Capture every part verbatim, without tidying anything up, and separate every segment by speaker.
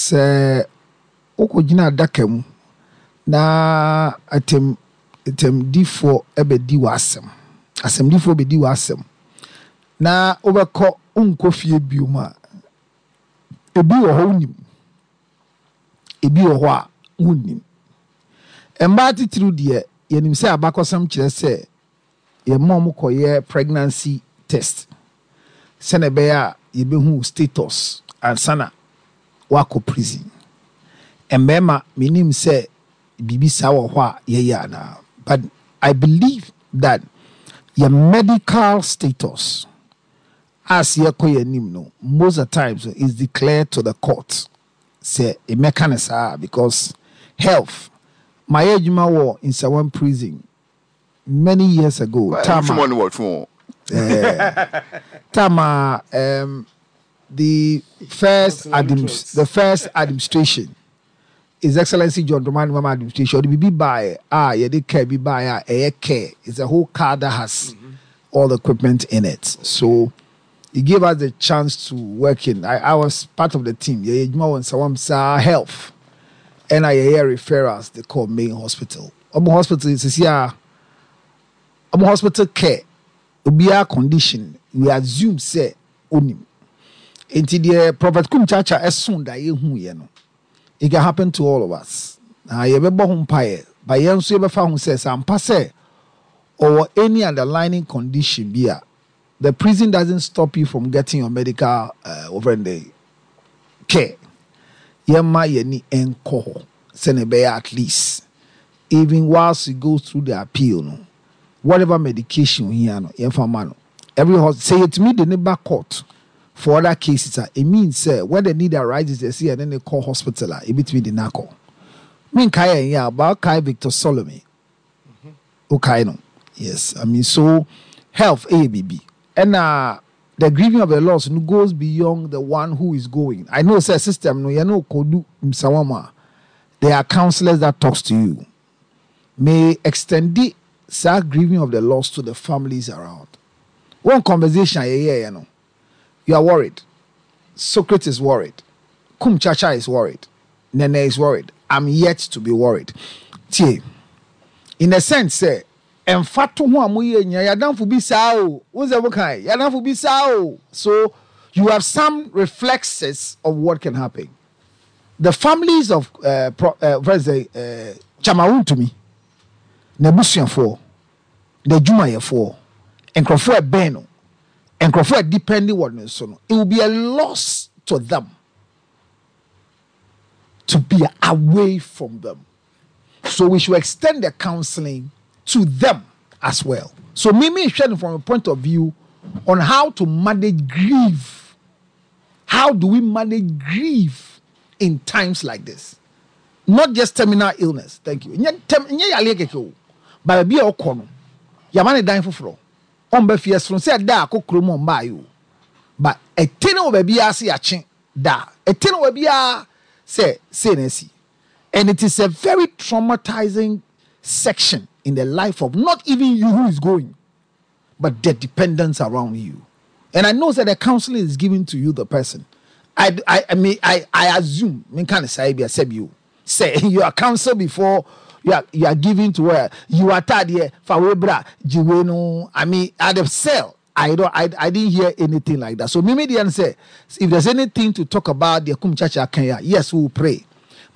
Speaker 1: Sɛ wokɔgyina adaka mu na atem atemdifoɔ bɛdi w'asɛm, asɛmdifoɔ bɛdi w'asɛm na wobɛkɔ, wonkɔ fie biom a, ebi wɔ hɔ wonim, ebi wɔ hɔ a wonnim. Mmaa titiriw deɛ, yɛnim sɛ abakɔsɛm kyerɛ sɛ yɛma ɔmo kɔyɛ pregnancy test sɛnɛ ɛbɛyɛ a yɛbɛhu status ansa na wakɔ prison. Mmarima, menim sɛ biribi saa wɔ hɔ a yɛyɛ anaa, but I believe that your medical status as yɛkɔ yɛn anim no, most of the times is declared to the court sɛ ɛmɛka ne saa, because health mayɛ adwuma wɔ Nsawam Prison many years ago.
Speaker 2: Tama no wɔ twon.
Speaker 1: Tama um, the first admin, the first administration, His Excellency John Dramani Mahama administration, ɔde biribi baeɛ a yɛde car bi baeɛ a ɛyɛ care. It's a whole car that has mm-hmm. all the equipment in it. So he gave us the chance to work in. I, I was part of the team. Yɛyɛ adwuma wɔ Nsawam saa health ɛna yɛyɛ referrals they call main hospital. Ɔmo hospital sisi a ɔmo hospital care, obiara condition, we assume sɛ onim. Nti deɛ Prophet Kumchacha ɛso da yɛhu yɛ no, it can happen to all of us. Na yɛbɛbɔ ho mpaeɛ, but yɛn nso yɛbɛfa ho sɛ sɛ ampa sɛ ɔwɔ any underlying condition bi a, the prison doesn't stop you from getting your medical uh, over the care. Yɛma yɛni nkɔ hɔ sɛnea ɛbɛyɛ at least even whilst you go through the appeal no, whatever medication ohia no, yɛmfa ma no. Every hospital sɛ yɛtumi de ne ba court for other cases a, it means sɛ when the need arises, yɛsɛ yɛne ne kɔ hospital a, ebitumi de n'akɔ. Menkae yɛn yɛ a ba kae Victor Solomon, okae no. Yes, I mean, so health ɛyɛ biribi, ɛna the grieving of the loss no goes beyond the one who is going. I know sɛ system no, yɛn no kodu Nsawam a, there are counsellors that talks to you. May extend the saa grieving of the loss to the families around. One conversation a yɛyɛɛ no, you are worried, Socrates is worried, Kumchacha is worried, Nene is worried. I'm yet to be worried. Tie, in a sense sɛ ɛmfa to ho a moyɛ nyina yɛadamfo bi saa o, wo sɛ mokae yɛadamfo bi saa o, so you have some reflexes of what can happen. The families of uh, pro, uh, first, uh, Chairman Wontumi, n'abusuafoɔ, n'adwumayɛfoɔ, nkurɔfoɔ ɛbɛn no, nkurɔfoɔ a depending wɔ ne so no, it will be a loss to them to be away from them. So we should extend the counseling to them as well. So me me hwɛ from a point of view on how to manage grief. How do we manage grief in times like this? Not just terminal illness. Thank you. Nyɛ term nyɛ yale keke o. Baabi a ɔkɔ no, yama ne dan foforɔ. Ɔmba fie sono sɛ da akɔ kurom ɔmba ayi o. But ɛte ne wɔ baabi a se yakye da. Ɛte ne wɔ baabi a sɛ sei na asi. And it is a very traumatizing section in the life of not even you who is going, but the dependents around you. And I know that the counseling is given to you, the person. I, I, I mean, I, I assume, I mean, kind of say, you say you are counseled before you are, you are given to where you are tired here. I mean, at the cell, I don't, I, I didn't hear anything like that. So, Mimi then say, if there's anything to talk about, the Kumchacha Kenya, yes, we will pray.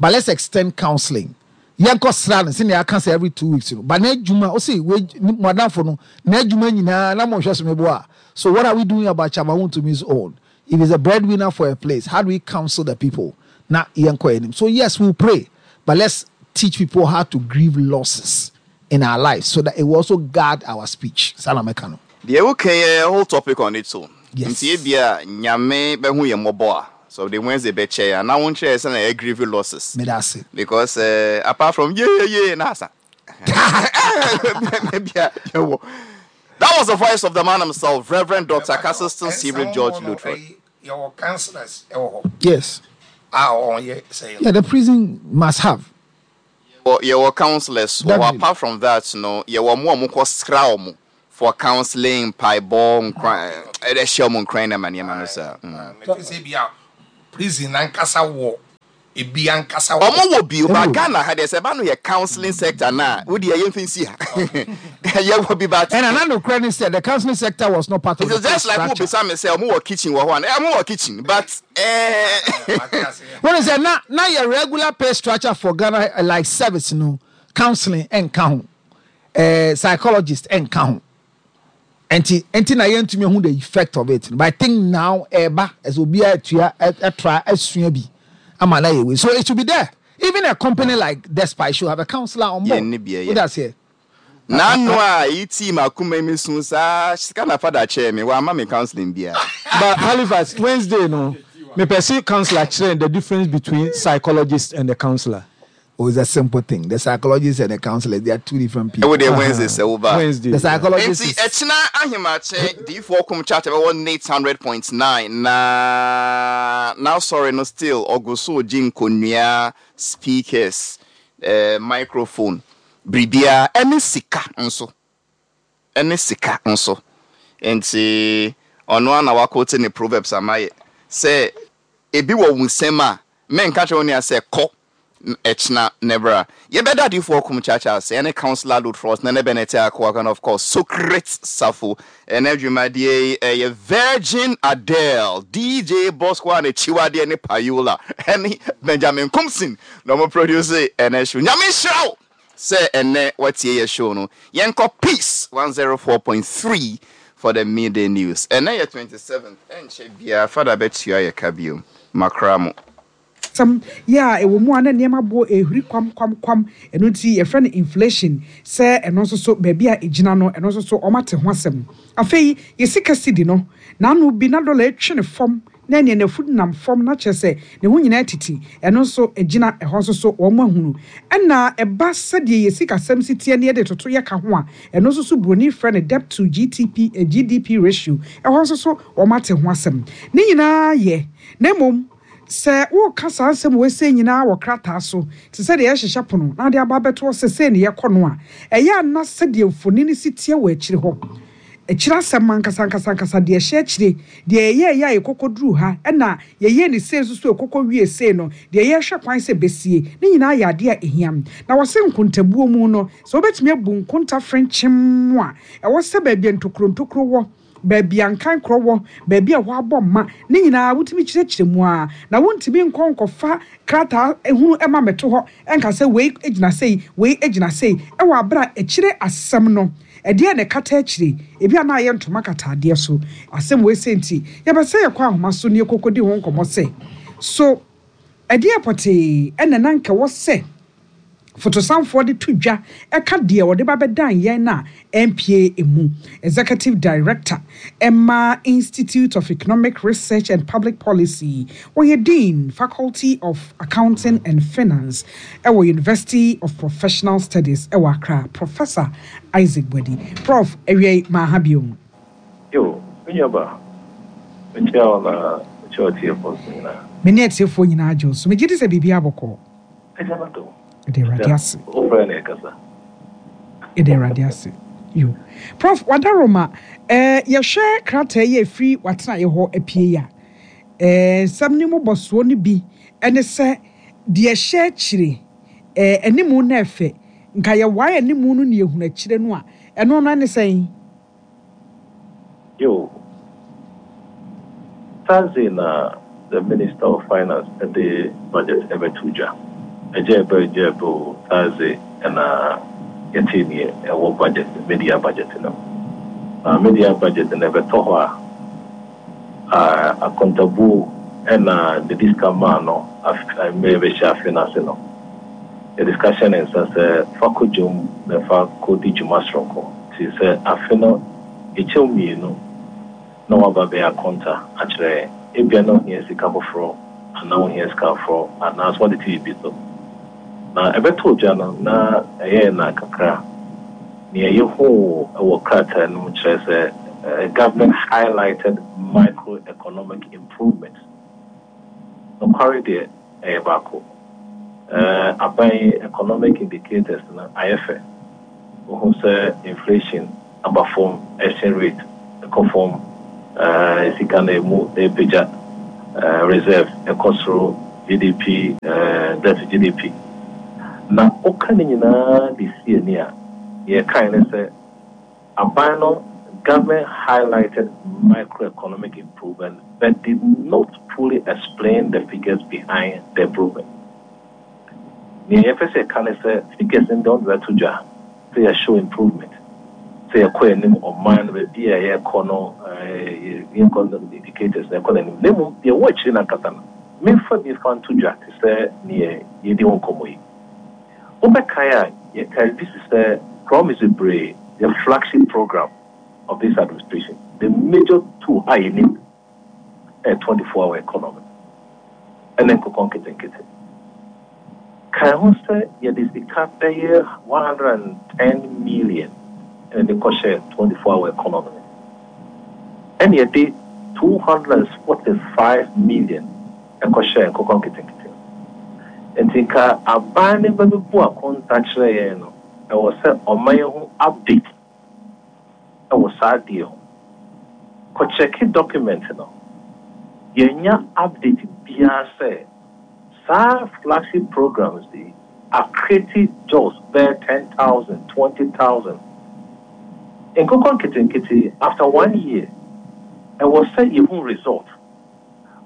Speaker 1: But let's extend counseling. Yɛnkɔ sra no sɛnea aka sɛ every two weeks no, but n'adwuma o si we mo adamfo no n'adwuma nyinaa na mo nhwɛ so mebo a. So what are we doing about Chairman Wontumi's own? If he's a breadwinner for a place, how do we counsel the people na yɛnkɔ anim? So yes, we will pray, but let's teach people how to grieve losses in our lives so that it will also guard our speech. Saa na mɛka no.
Speaker 2: Deɛ woka yɛ whole topic on its own.
Speaker 1: Yes.
Speaker 2: Nti ebia Nyame bɛhu yɛ mmɔbɔ a, so the Wednesday bɛkyɛ a na wonkyerɛ sɛ na ɛyɛ grieve losses.
Speaker 1: Meda ase.
Speaker 2: Because uh, apart from yeah yeah yeah na asa Ebia yɛwɔ. That was the voice of the man himself, Reverend Doctor Castleton Stephen George Lutterodt.
Speaker 3: Yɛwɔ counsellors ɛwɔ hɔ
Speaker 1: Yes.
Speaker 3: a ɔyɛ sɛ
Speaker 1: Yeah, the prison must have.
Speaker 2: Yɛwɔ yɛwɔ counselors wɔ hɔ.
Speaker 1: Definitely.
Speaker 2: Apart from that no, yɛwɔ mo a mokɔ sra ɔmo for counseling, mpaebɔ, nkran, ɛdɛ hyɛ ɔmo nkran na ma nneɛma no saa. Mm.
Speaker 3: Mefi sɛ bi a prison nankasa wɔ Ebi ankasa wɔ
Speaker 2: Ɔmo wɔ bi o, but Ghana ha deɛ, sɛ ɛba no yɛ counseling sector na wodi ɛyɛ mfi nsi ha, yɛwɔ bi, but
Speaker 1: ɛna na nokorɛ ne sɛ the counseling sector was not part of
Speaker 2: it's
Speaker 1: the pay
Speaker 2: just like wo
Speaker 1: structure.
Speaker 2: Bisa me sɛ ɔmo wɔ kitchen wɔ hɔ a, ɔmo wɔ kitchen, but ɛɛ
Speaker 1: Wɔn sɛ na na yɛ regular pay structure for Ghana, uh, like service no, counseling ɛnka ho, uh, psychologist ɛnka ho. nti nti na yɛntumi hu the effect of it, but I think now ɛɛba ɛsɛ obiara atua ɛtra asua bi ama na yɛ wei, so it should be there. Even a company like Despite should have a counselor on board.
Speaker 2: Yɛn ni bi ɛyɛ.
Speaker 1: Wo da seɛ.
Speaker 2: N'ano a eyi tii ma akoma mi sun saa sika na fada kyerɛ mi wama mi counseling bia.
Speaker 4: But Halifax, Wednesday no, me person counselor kyerɛ the difference between psychologist and the counselor.
Speaker 1: Oh, it's a simple thing. The psychologist and the counselor, they are two different people.
Speaker 2: Ɛwɔ deɛ, Wednesday sɛ woba.
Speaker 4: Wednesday.
Speaker 1: The psychologist
Speaker 2: Nti
Speaker 1: is
Speaker 2: ɛkyina ahemakye diifoɔ kum chat ɛbɛwɔ eight hundred point nine na now sorry no, still ɔgo so gye nkonnua, speakers, eh, microphone, biribiara ɛne sika nso, ɛne sika nso. Nti ɔno ana wakote ne Proverbs amayɛ sɛ ebi wɔ wo nsɛm a menka kyerɛ wo nua sɛ kɔ ɛkyina nebra yɛbɛda adiifoɔ kum kyakya ase ɛne Councillor Lutterodt na ne Bennett Akoa and of course Socrates Safo. Ɛnɛ dwumadie yi ɛyɛ Virgin Adele, D J Bosco a n'akyiwadeɛ ne Payola ɛne Benjamin Kumsin na ɔmo produce ɛnɛ show. Nyame nhyira wo sɛ ɛnɛ watie yɛ show no. Yɛnkɔ Peace one oh four point three for the midday news. Ɛnɛ yɛ twenty-seventh, ɛnkyɛ biara fada bɛtua yɛ ka bio makra mo.
Speaker 5: Sɛm yɛ a ɛwɔ mu a na nneɛma boɔ ehuri kwam kwam kwam, ɛno nti yɛfrɛ no inflation, sɛ ɛno nso so baabi a egyina no, ɛno nso so ɔmo ate ho asɛm. Afei yɛsika sidi no n'ano bi na dɔla etwe ne fam na nea n'afu nam fam na kyerɛ sɛ ne ho nyinaa titi, ɛno nso gyina ɛhɔ nso so wɔn ahunu. Ɛna ɛba sɛdeɛ yɛ sikasɛm si teɛ ne yɛde toto yɛ ka ho a, ɛno nso so buroni frɛ no debt to G T P, eh, G D P ratio, ɛhɔ nso so wɔn ate ho asɛm. Ne nyinaa yɛ na mmom sɛ woka saa nsɛm wɔ ese nyinaa wɔ krataa so te sɛ deɛ yɛhyehyɛ pono na ade aba abɛto sɛ sei ne yɛkɔ no a, ɛyɛ ana sɛdeɛ mfoni no si teɛ wɔ akyire hɔ, akyire asɛm ankasa ankasa ankasa, deɛ ɛhyɛ akyire, deɛ yɛyɛ yɛ a yɛkɔkɔ duru ha, ɛna yɛyɛ ne sei nso so ɛkɔkɔ wie sei no, deɛ yɛhwɛ kwan sɛ bɛsie ne nyinaa yɛ adeɛ a ɛhia. Na wɔse nkontabuo mu no, sɛ wobɛtumi abu nkonta frenkyem a ɛwɔ sɛ baabi a ntokuro ntokuro wɔ, baabi a nkan korɔ wɔ, baabi a wɔabɔ mma ne nyinaa wotumi kyerɛkyerɛ mu a, na wontumi nkɔ nkɔfa krataa ehunu ɛma mɛto hɔ ɛnka sɛ wei gyina sei, wei gyina sei, ɛwɔ abere a akyire asɛm no ɛdeɛ na ɛkata akyire, ebi a na ayɛ ntoma kata adeɛ so. Asɛm wei sɛ nti yɛbɛsɛ yɛkɔ ahoma so ne yɛkɔkɔdi ho nkɔmmɔ sɛ so ɛdeɛ pɔtee ɛna na nka wɔ sɛ fotosanfoɔ de to dwa ɛka deɛ wɔde ba bɛdan yɛn na N P A emu executive director ɛma Institute of Economic Research and Public Policy, wɔyɛ dean, Faculty of Accounting and Finance ɛwɔ University of Professional Studies ɛwɔ Accra, Professor Isaac Boadi. Prof, awia yi maa ha bio.
Speaker 6: Yo, me nuaba, mekyia wo na mekyia ɔtiefoɔ nso nyinaa.
Speaker 5: Me ne atiefoɔ nyinaa gye wo so. Megye di sɛ biribi abɔkɔ.
Speaker 6: Agya no dom.
Speaker 5: Ɛde Awurade ase.
Speaker 6: Wofrɛ ne ɛkasa.
Speaker 5: Ɛde Awurade ase. Yo, Prof Wadaroma, ɛɛ yɛhwɛ krataa yi a ɛfiri watenaeɛ hɔ apue yi a, ɛɛ nsɛm ne mu bɔsoɔ no bi ɛne sɛ deɛ ɛhyɛ akyire, ɛɛ animu na ɛfɛ nka yɛwae animu no ne yɛhunu akyire no a, ɛno no ɛne sɛn?
Speaker 6: Yo, Thursday na the Minister of Finance de budget ɛbɛto dwa. Ɛgya ɛbɛ ɛgya ɛbɛ o, Thursday ɛna yɛte neɛ ɛwɔ budget, mid-year budget no. Na mid-year budget no ɛbɛtɔ hɔ a, a akontabuo ɛna de sika maa no afe mmerɛ bɛhyɛ afe no ase no. Yɛde sika hyɛ ne nsa sɛ fa kɔ dwom na fa kɔdi dwuma soronko. Nti sɛ afe no ɛkyɛw mmienu na waba bɛyɛ akonta akyerɛ yɛn. Ebia na ohia sika foforɔ anaa ohia sika foforɔ anaasɛ wɔde te biribi so. Na ɛbɛtɔ dwa no na ɛyɛɛ na kakra. Nea yɛhuu wɔ krataa no mu kyerɛ sɛ eh, government highlighted microeconomic improvements. Nokware deɛ ɛyɛ baako. Eh, aban economic indicators no ayɛ fɛ. Wohu sɛ inflation aba fam, exchange rate ɛkɔ fam, eh, sika no emu ɛpagya, eh, reserve ɛkɔ soro, G D P, uh, debt to G D P. Na woka ne nyinaa de sie ani a, yɛkae ne sɛ aban no, government highlighted microeconomic improvement but did not fully explain the figures behind the improvement. Nea yɛpɛ sɛ yɛka ne sɛ figures no deɛ, ɔde bɛto dwa sɛ yɛshow improvement, sɛ yɛkɔ anim, ɔman no baabi a yɛkɔ no, yɛnkɔ no indicators na ɛkɔ n'anim, na mmom deɛ ɛwɔ akyire no ankasa no, memfa bi fa nto dwa te sɛ neɛ yɛdi ho nkɔmmɔ yi. Wobɛkae a, yɛkae bi si sɛ promise bebree, the flagship program of this administration, the major two a yɛnim ɛyɛ twenty-four hour economy ɛne nkokɔ nketenkete. Kae ho sɛ yɛde sika bɛyɛ one hundred and ten million ɛna de kɔhyɛ twenty-four hour economy, ɛna yɛde two hundred and forty-five million ɛkɔhyɛ nkokɔ nketenkete. Nti nka aban ne bɛbɛbu akonta kyerɛ yɛn no, ɛwɔ sɛ ɔman yɛn ho update ɛwɔ saa adeɛ ho. Kɔkyɛke document no, yɛnya update biara sɛ saa flagship programs yi acreate jobs bɛyɛ ten thousand, twenty thousand. Nkokɔ nketenkete, after one year, ɛwɔ sɛ yɛhu result.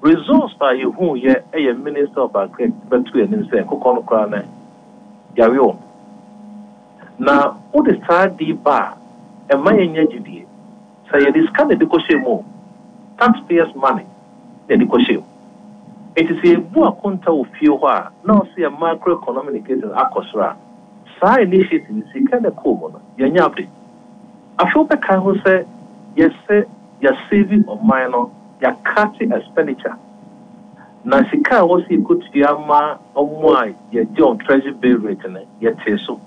Speaker 6: Results a yɛhu yɛ ɛyɛ Minister of Agric bɛto anim sɛ nkokɔ no koraa no yare wɔn. Na wode saa di ba a, ɛma yɛnya gyidie sɛ yɛde sika na ɛde kɔhyɛ mu o, taxpayers' money na yɛde kɔhyɛ mu. Nti sɛ yɛbu akonta wɔ fie hɔ a, na ɔsɛ yɛ macroeconomic indicators akɔ soro a, saa initiative sika na ɛkɔɔ mu no, yɛnya update. Afei wobɛkae ho sɛ yɛsɛ yɛsave ɔman no, yɛacut expenditure, na sika a ɛwɔ sɛ yɛkɔtua ma ɔmo a yɛgye on treasury bill rate no, yɛtee so,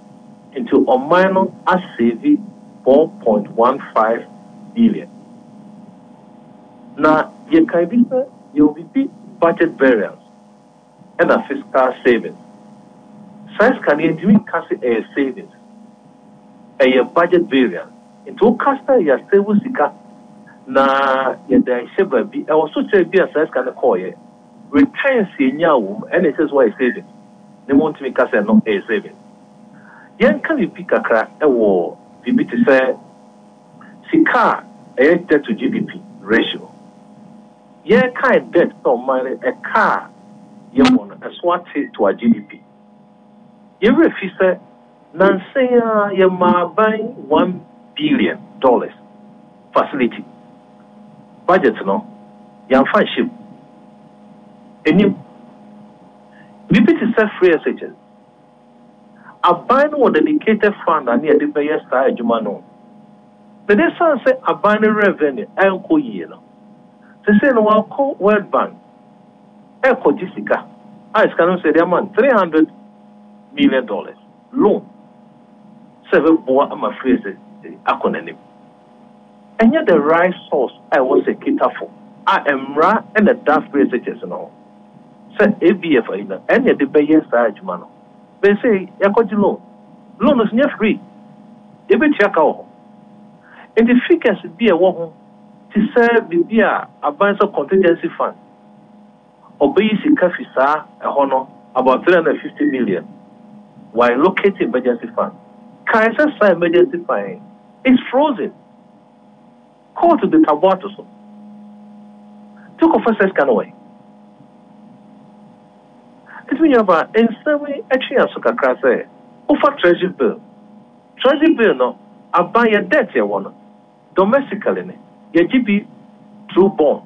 Speaker 6: nti ɔman no asave four point one five billion. Na yɛkae bi sɛ yɛwɔ biribi budget variance ɛna fiscal savings. Saa sika no, yɛntumi nka sɛ ɛyɛ savings, ɛyɛ budget variance. Nti woka sɛ yɛasave sika na yɛde ahyɛ baabi, ɛwɔ so kyerɛ bi a saa sika no kɔɔyɛ, returns yɛnya wɔ mu, ɛna ɛsɛ sɛ wɔyɛ savings ne mo ntumi ka sɛ no ɛyɛ savings. Yɛnka biribi kakra ɛwɔ biribi te sɛ sika a ɛyɛ debt to G D P ratio. Yɛkae debt sɛ ɔman no ɛka a yɛwɔ no, ɛso ate to a G D P. Yɛwerɛ fi sɛ nansan a yɛma aban one billion dollars facility, budget no yɛamfa nhyɛ mu. Anim biribi te sɛ free S H S, aban no wɔ dedicated fund a ne yɛde bɛyɛ saa adwuma no. Na de san sɛ aban no revenue ɛnkɔ yie no, sesei no wakɔ World Bank ɛkɔgye sika a sika no nso yɛde ama no three hundred million dollars loan sɛ ɛbɛboa ama free S H S akɔ n'anim. Ɛnyɛ the right source a ɛwɔ sɛ kitafo a mmara ɛna ɛda free S H S no ho sɛ A B F ayi no ɛna yɛde bɛyɛ saa adwuma no. Bɛsɛ yɛkɔgye loan, loan no nso nyɛ free, yɛbɛtua ka wɔ hɔ. Nti figures bi a ɛwɔ ho te sɛ biribi a aban sɛ contingency fund, ɔbɛyi sika fi saa ɛhɔ no about three hundred and fifty million while allocate emergency fund. Kae sɛ saa emergency fund is frozen, court de tabo ato so. Nti wokɔfa sɛ sika no wɔ nti mi nyaba nsɛm yi atwi yɛn so kakra sɛ wofa treasury bill. Treasury bill no, aban yɛ debt yɛwɔ no domestically ne yɛgye bi through bond,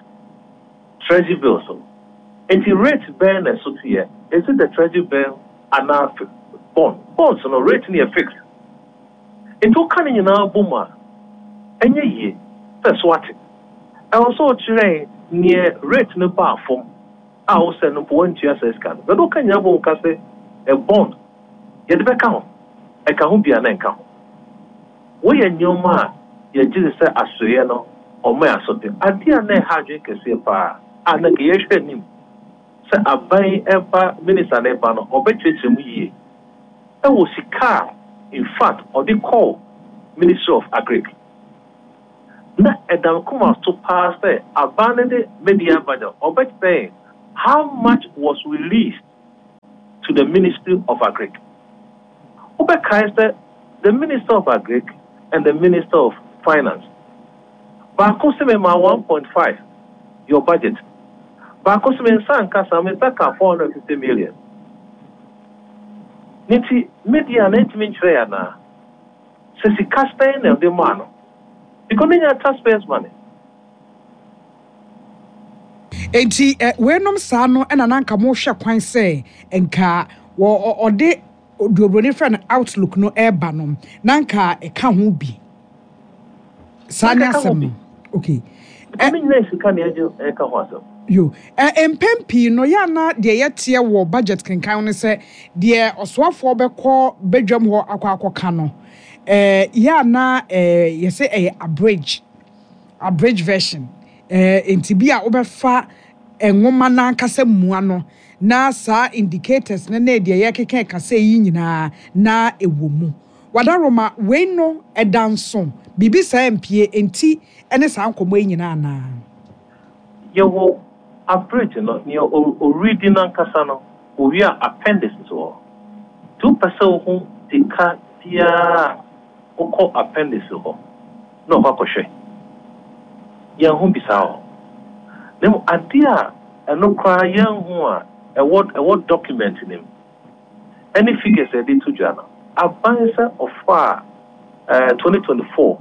Speaker 6: treasury bill so. Nti rate bɛn na ɛso teɛ? Is it the treasury bill anaa bond? Bonds no rate no yɛ fixed. Nti woka ne nyinaa bɔ mu a, ɛnyɛ yie sɛ so ate. Ɛwɔ sɛ ɔkyerɛ neɛ rate no baa fam a wosɛ no mpo wantua saa sika no bɛdɛ. Woka nyinaa bɔ mu ka sɛ ɛ bond yɛde bɛka ho, ɛka ho bia na ɛnka ho. Woyɛ nneɛma a yɛgye de sɛ asoeɛ no ɔmo yɛ asote adeɛ a na ɛha adwene kɛseɛ paa a na nka yɛhwɛ anim sɛ aban ɛba, minister no ɛba no, ɔbɛkyerɛkyerɛ mu yie ɛwɔ sika a in fact ɔde kɔɔ Ministry of Agric. Na ɛda koma so paa sɛ aban no de media budget ɔbɛkyerɛ How much was released to the Ministry of Agric? Wobɛkae sɛ the Minister of Agric and the Minister of Finance, baako sɛ mema one point five your budget, baako sɛ me nsa nka saa, me nsa ka four hundred and fifty million. Ne nti media na ntumi nkyerɛ yɛ anaa sɛ sika sɛn na ɛde maa no, because ne nya taxpayers money.
Speaker 5: Enti eh, weinom saa no ɛna na nka mohwɛ kwan sɛ nka wɔ ɔde duobroni frɛ no outlook no ɛreba no, na nka ɛka ho bi saa ne asɛm no. Okay.
Speaker 6: Because ne nyinaa sika na ɛgye ɛka ho asɛm.
Speaker 5: Yo, eh, mpɛn pii no yɛ ana deɛ yɛteɛ wɔ budget kenkan no sɛ deɛ ɔsoafoɔ bɛkɔ badwam hɔ akɔ akɔka no, eh, yɛ ana eh, yɛsɛ ɛyɛ abridge abridge version, eh, nti bi a wobɛfa nwoma n'ankasa mua no na saa indicators no ne deɛ yɛkeka kasa yi nyinaa na ɛwɔ mu. Wadaroma wei no ɛda nso biribi saa mpie nti ɛne saa nkɔmmɔ yi nyinaa anaa?
Speaker 6: Yɛwɔ abridge no, nea ɔredi n'ankasa no, owie a appendix wɔ hɔ. Nti wopɛ sɛ wohu sika biara a, wokɔ appendix hɔ na ɔkɔ akɔhwɛ. Yɛnho bi saa hɔ. Na mmom adeɛ a ɛno koraa yɛnho a ɛwɔ ɛwɔ document no mu ɛne figures a yɛde to dwa no, aban sɛ ɔfa a ɛɛ twenty twenty four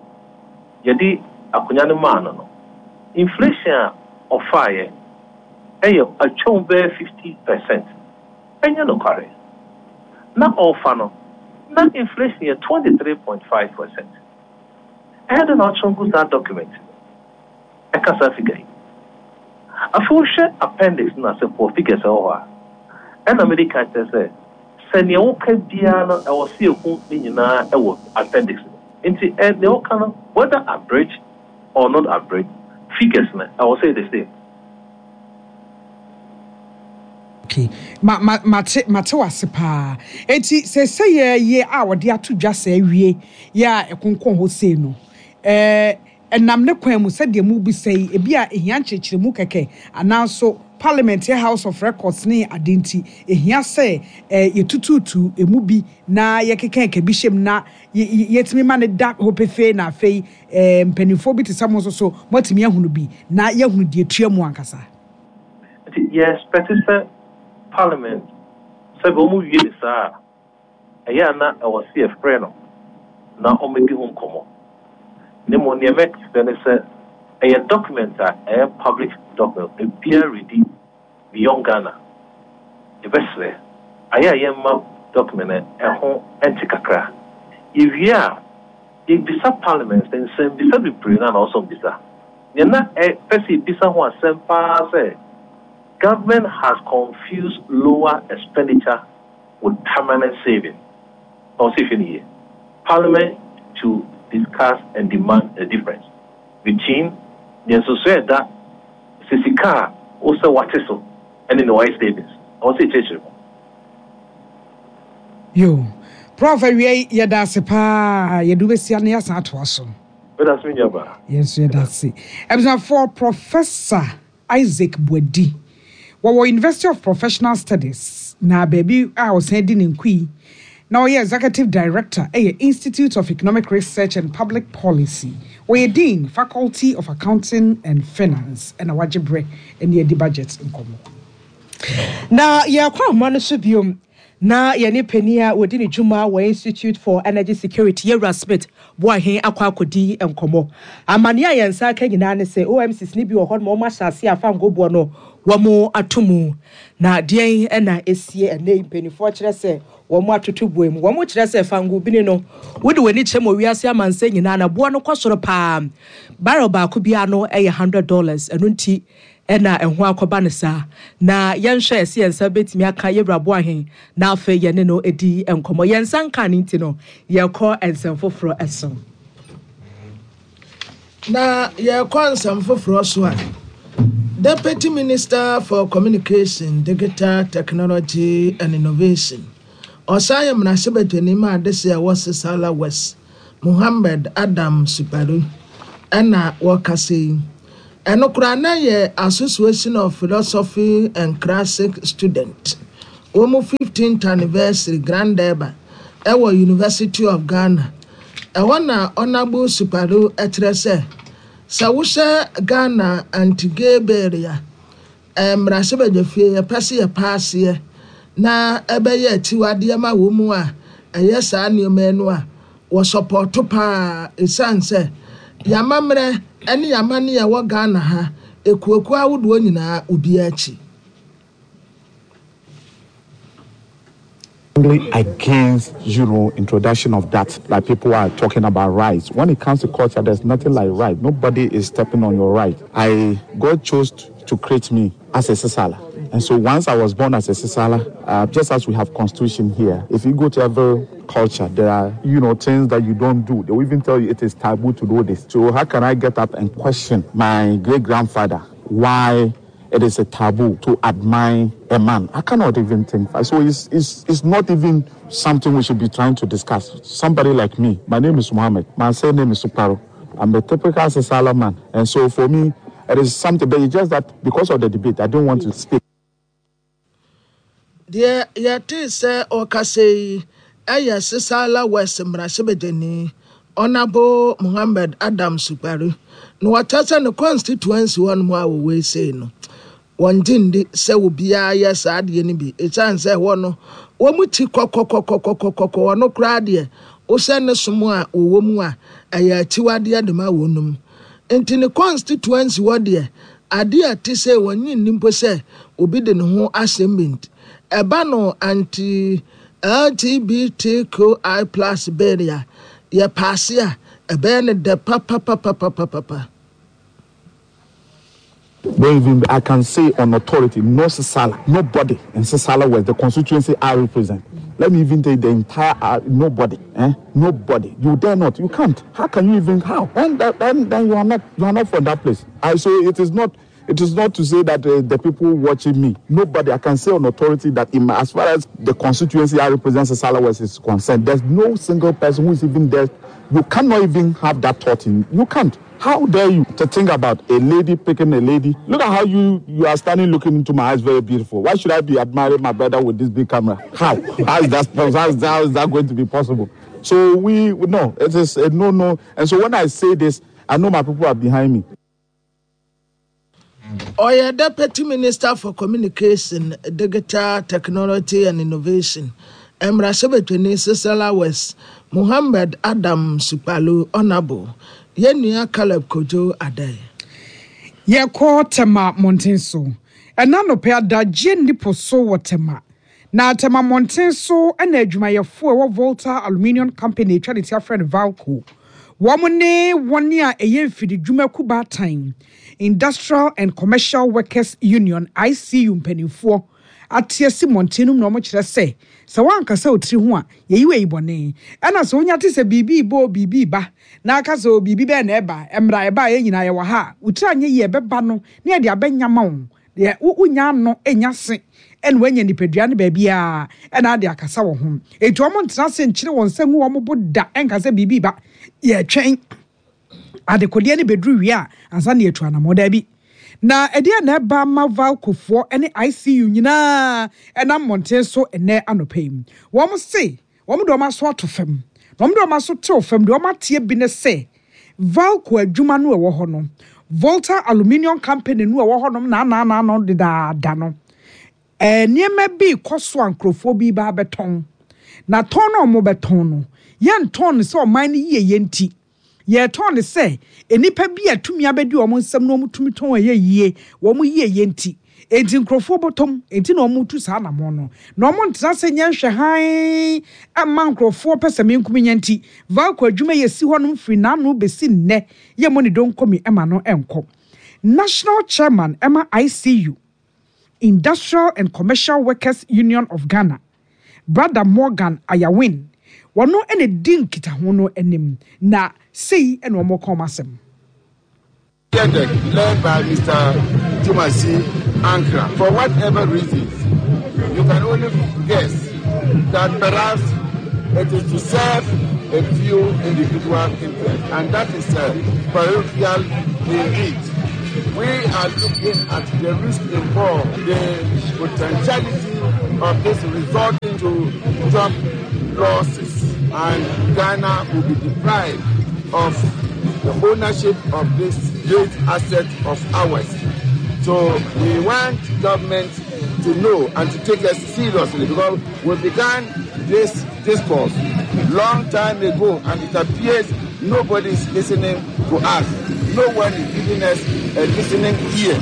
Speaker 6: yɛde akonnwa no maa no no, inflation a ɔfaeɛ ɛyɛ atwam bɛyɛ fifty percent. Ɛnyɛ nokware. Na ɔfa no, na inflation yɛ twenty three point five percent. Ɛyɛ de na ɔtwerɛ gu saa document no ɛka saa figure yi. Afei wohwɛ appendix no ase for figures ɛwɔ hɔ a, ɛna mede ka kyerɛ sɛ sɛ nea woka biara no ɛwɔ sɛ yɛhu ne nyinaa ɛwɔ appendix no. Nti ɛ nea woka no, whether abridged or not abridged, figures no ɛwɔ sɛ yɛ the same.
Speaker 5: Okay. Ma ma mate mate wase paa. Enti sɛ sɛ yɛ yɛ a wɔde ato dwa sɛ awie yɛ a ɛkonkɔn hɔ sei no, ɛɛ ɛnam ne kwan mu sɛdeɛ mu bisa yi, ebi a ehia nkyerɛkyerɛmu kɛkɛ anaa Parliament yɛ House of Records ne ade nti ehia sɛ ɛɛ yɛtututu emu bi na yɛkeka ɛka bi hyɛm na yɛtumi ma ne da hɔ pefee, na afei ɛɛ mpanimfoɔ bi te sɛ mo nso so moatumi ahunu bi na yɛahunu deɛ tua mu ankasa.
Speaker 6: Nti yɛ expect sɛ Parliament sɛ bɛ wɔn wie ne saa a, ɛyɛ a na ɛwɔ sɛ yɛfrɛ no na wɔmmɛdi ho nkɔmmɔ. Ne mmom nea mɛkyerɛ ne sɛ ɛyɛ document a ɛyɛ public document, ebiara redi beyond Ghana. Yɛbɛsrɛ ayɛ a yɛmma document no ɛho ɛnte kakra. Yɛwie a, yɛbisa Parliament sɛ nsɛmbisa bebree na na ɔsɔ mbisa. Nea na ɛpɛ sɛ yɛbisa ho asɛm paa sɛ government has confused lower expenditure with permanent saving. Ɔsɛ ehwɛ ne yie. Parliament to discuss and demand the difference between nea nsoso ɛda sɛ sika a wosɛ wate so ɛne ne wayɛ savings. Ɔsɛ ekyerɛkyerɛ mu.
Speaker 5: Yo, Prof awie, yɛda ase paa, yɛde wobɛsia na yɛasan atoa so.
Speaker 6: Bɛda so nya ba.
Speaker 5: Yɛn nso yɛda ase. Abusuafoɔ, Professor Isaac Boadi wɔwɔ University of Professional Studies na baabi a ɔsan di ne nkui na ɔyɛ Executive Director ɛyɛ Institute of Economic Research and Public Policy. Wɔyɛ Dean, Faculty of Accounting and Finance, ɛna wagye berɛ ɛne adi budget nkɔmmɔ.
Speaker 7: Na yɛkɔ ahoma no so biom na yɛne panin a wɔdi ne dwuma wɔ Institute for Energy Security, Yɛwura Smith Boahen, akɔ akɔdi nkɔmmɔ. Amanneɛ a yɛn nsa aka nyinaa ne sɛ O M Cs ne bi wɔ hɔ nom wɔn ahyɛ ase afa ngoboɔ no wɔn ato mu, na deɛn ɛna esie ɛnɛ yi mpanimfoɔ kyerɛ sɛ wɔn atoto boɔ mu, wɔn kyerɛ sɛ fango bini no wode w'ani kyerɛ mu wiase amansa nyinaa na boɔ no kɔ soro paa. Barrel baako biara no ɛyɛ hundred dollars, ɛno nti ɛna ɛho akɔba no saa. Na yɛnhwɛ ɛsɛ yɛn nsa bɛtumi aka Yɛwura Boahen na afei yɛne no di nkɔmmɔ. Yɛn nsa nka ne nti no yɛkɔ nsɛm foforɔ ɛso.
Speaker 8: Na yɛkɔ nsɛm foforɔ so a, Deputy Minister for Communication, Digital Technology and Innovation, ɔsan yɛ mmarahyɛbadwani ma adehye a ɛwɔ Sissala West, Muhammed Adam Sukparu, ɛna wɔkasa yi. Ɛno koraa na yɛ Association of Philosophy and Classic Student wɔn fifteenth anniversary Grand Durbar ɛwɔ University of Ghana. Ɛhɔ na Honourable Sukparu kyerɛ sɛ, sɛ wohyɛ Ghana anti-gay bill a, mmarahyɛbadwafie yɛpɛ sɛ yɛpaaseɛ na ɛbɛyɛ akyiwadeɛ ma wɔn mu a ɛyɛ saa nneɛma no a, wɔsɔpɔto paa, ɛsiane sɛ yɛamammerɛ ne yɛamanne a ɛwɔ Ghana ha, ekuokuo ahodoɔ nyinaa obiara akyi.
Speaker 9: Against, you know, introduction of that, like people are talking about rights. When it comes to culture, there's nothing like right. Nobody is stepping on your right. I, God chose to create me as a Sisala. And so once I was born as a Sisala, uh, just as we have constitution here, if you go to every culture, there are, you know, things that you don't do. They will even tell you it is taboo to do this. So how can I get up and question my great-grandfather why it is a taboo to admire a man? I cannot even think. So it's, it's, it's not even something we should be trying to discuss. Somebody like me, my name is Mohammed. My surname is Suparo. I'm a typical Sisala man. And so for me, it is something, but it's just that because of the debate, I don't want to speak.
Speaker 8: Deɛ yɛte sɛ ɔkasa yi ɛyɛ Sisala West mmarahyɛbadwani Honourable Mohammed Adam Supari. Na wɔkyerɛ sɛ ne constituency hɔ nom a wɔwɔ sei no, wɔngye ndi sɛ obiara yɛ saa adeɛ no bi, ɛsiane sɛ ɛhɔ no wɔn ti kɔkɔkɔkɔkɔkɔkɔ. Ɔno koraa deɛ, wohyɛ ne som a wɔwɔ mu a, ɛyɛ akyiwadeɛ de ma wɔn. Nti ne constituency hɔ deɛ, adeɛ a ɛte sɛ wɔnyi nni mpo sɛ obi de ne ho asɛm bi. Nti ɛba no anti L G B T Q I plus bill a yɛpaase a, ɛbɛyɛ ne dɛ papapapapapapa.
Speaker 9: Don't even, I can say on authority, no Sisala, nobody in Sisala West, the constituency I represent. Let me even take the entire, uh, nobody, eh? Nobody. You dare not. You can't. How can you even, how? And then, then you are not, you are not from that place. I so it is not, it is not to say that uh, the people watching me, nobody, I can say on authority that in my, as far as the constituency I represent, Sisala West, is concerned, there's no single person who is even there. You cannot even have that thought in you. Can't. How dare you to think about a lady picking a lady? Look at how you, you are standing looking into my eyes, very beautiful. Why should I be admiring my brother with this big camera? How? How is that, how is that, how is that going to be possible? So we, no, it is a no, no. And so when I say this, I know my people are behind me.
Speaker 8: Ɔyɛ Deputy Minister for Communication, Digital Technology and Innovation, mmarahyɛbadwani Sisala West, Mohammed Adam Supalu, Honourable, yɛn nua Caleb Kojo Adai.
Speaker 5: Yɛkɔ Tema mmɔnten so. Ɛna nɔpɛ adagye nnipo so wɔ Tema, na Tema mmɔnten so ɛna adwumayɛfoɔ a ɛwɔ Volta Aluminium Company, atwa ne ti afrɛ no Valco, wɔn ne wɔn a ɛyɛ mfididwuma baatan, Industrial and Commercial Workers Union, I C U, mpanimfoɔ ate asi mmɔnten no mu, na wɔn kyerɛ sɛ sɛ wɔankasa otiri ho a yɛyi wɔ yi bɔne, ɛna sɛ wonya te sɛ biribi bɔ biribi ba na aka sɛ o biribi bɛɛ na ɛba mmra ɛba a yɛn nyinaa yɛwɔ ha a wotiri anyɛ yie, ɛbɛba no na yɛde abɛnyama wo deɛ wonya ano nya se ɛna wanya nipadua no baabiara ɛna ade akasa wɔ ho. Etu wɔn ntena ase nkyerɛ wɔn nsa ngu wɔn bo da ɛnka sɛ biribi ba, yɛtwɛn adekodeɛ no bɛduru wie a ansa na yɛtu anammɔ. Daabi, na ɛdeɛ na ɛba ma Valcofoɔ ne I C U nyinaa ɛnam mmɔnten so ɛnɛ anɔpa yi, wɔn se wɔn de wɔn aso ato fam, na wɔn de wɔn aso tew fam deɛ, wɔn ateɛ bi ne sɛ Valco adwuma no ɛwɔ hɔ no, Volta Aluminium Company no ɛwɔ hɔnom naanaanaano dedaada no, ɛɛ nneɛma bi kɔ so a nkurɔfoɔ bi ba abɛtɔn, na tɔn no a wɔbɛtɔn no, yɛntɔn no sɛ ɔman no yie yɛ, nti yɛtɔn no sɛ nnipa bi a tumi abɛdi wɔn nsam na wɔn tumi tɔn ɛyɛ yie, wɔn yie yɛ nti, enti nkurɔfoɔ bɔtɔm, enti na wɔn tu saa anamɔ no, na wɔn ntena sɛ nyɛ nhwɛ hann ama nkurɔfoɔ pɛ sɛ menkum nyɛ. Nti Valco adwuma yɛ si hɔnom firi n'ano bɛsi nnɛ yɛ mo ne donkomi ɛma no ɛnkɔ. National Chairman ɛma I C U, Industrial and Commercial Workers Union of Ghana, Brother Morgan Ayawin, wɔno ɛna di nkitaho no anim, na sei ɛna wɔn kɔn asɛm.
Speaker 10: Led by Mister Timasi Ankra. For whatever reasons, you can only guess that perhaps it is to serve a few individual interests, and that is uh, parochial indeed. We are looking at the risk involved, the potentiality of this resulting to job losses, and Ghana will be deprived of the ownership of this great asset of ours. So we want government to know and to take us seriously, because we began this discourse long time ago and it appears nobody is listening to us. No one is giving us a listening ear.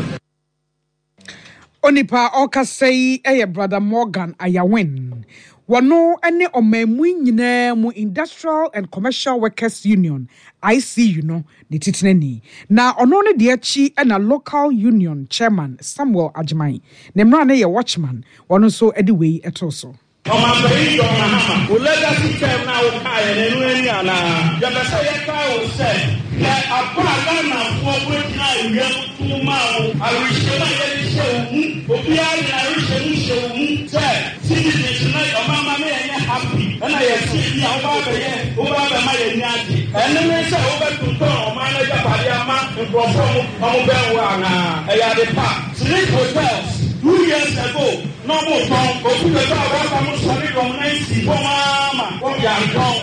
Speaker 5: Onipa ɔkasa yi yɛ Brother Morgan Ayawin. Wɔno ne ɔman mu nyinaa mu Industrial and Commercial Workers Union I C U no ne titenani. Na ɔno ne deɛ akyi na Local Union Chairman Samuel Agyeman. Ne mmara no yɛ Watchman. Wɔno nso de wei to so.
Speaker 11: Ɔmanpanyin John Mahama, wo legacy term na wokaeɛ no, ɛno ani anaa yɛpɛ sɛ yɛkae wo sɛ hwɛ aba a Ghanafoɔ wɔgyina awia mu tum maa wo, awerɛhyɛmu a yɛde hyɛ wo mu, obiara de n'awerɛhyɛmu hyɛ wo mu sɛ citizens na ɔmama ne yɛnyɛ happy, ɛna yɛse bi a woba abɛyɛ, woba abɛma yɛni agye. Ɛno ne sɛ wobɛtontɔn ɔman no agyapadeɛ ama nkurɔfoɔ mo ɔmo bɛn wo anaa? Ɛyɛ ade pa. Sleep Hotels, two years ago na ɔmo tɔn obi bɛtɔ a wɔafa mo sɔre dɔm nan si fam ama wɔde antɔn.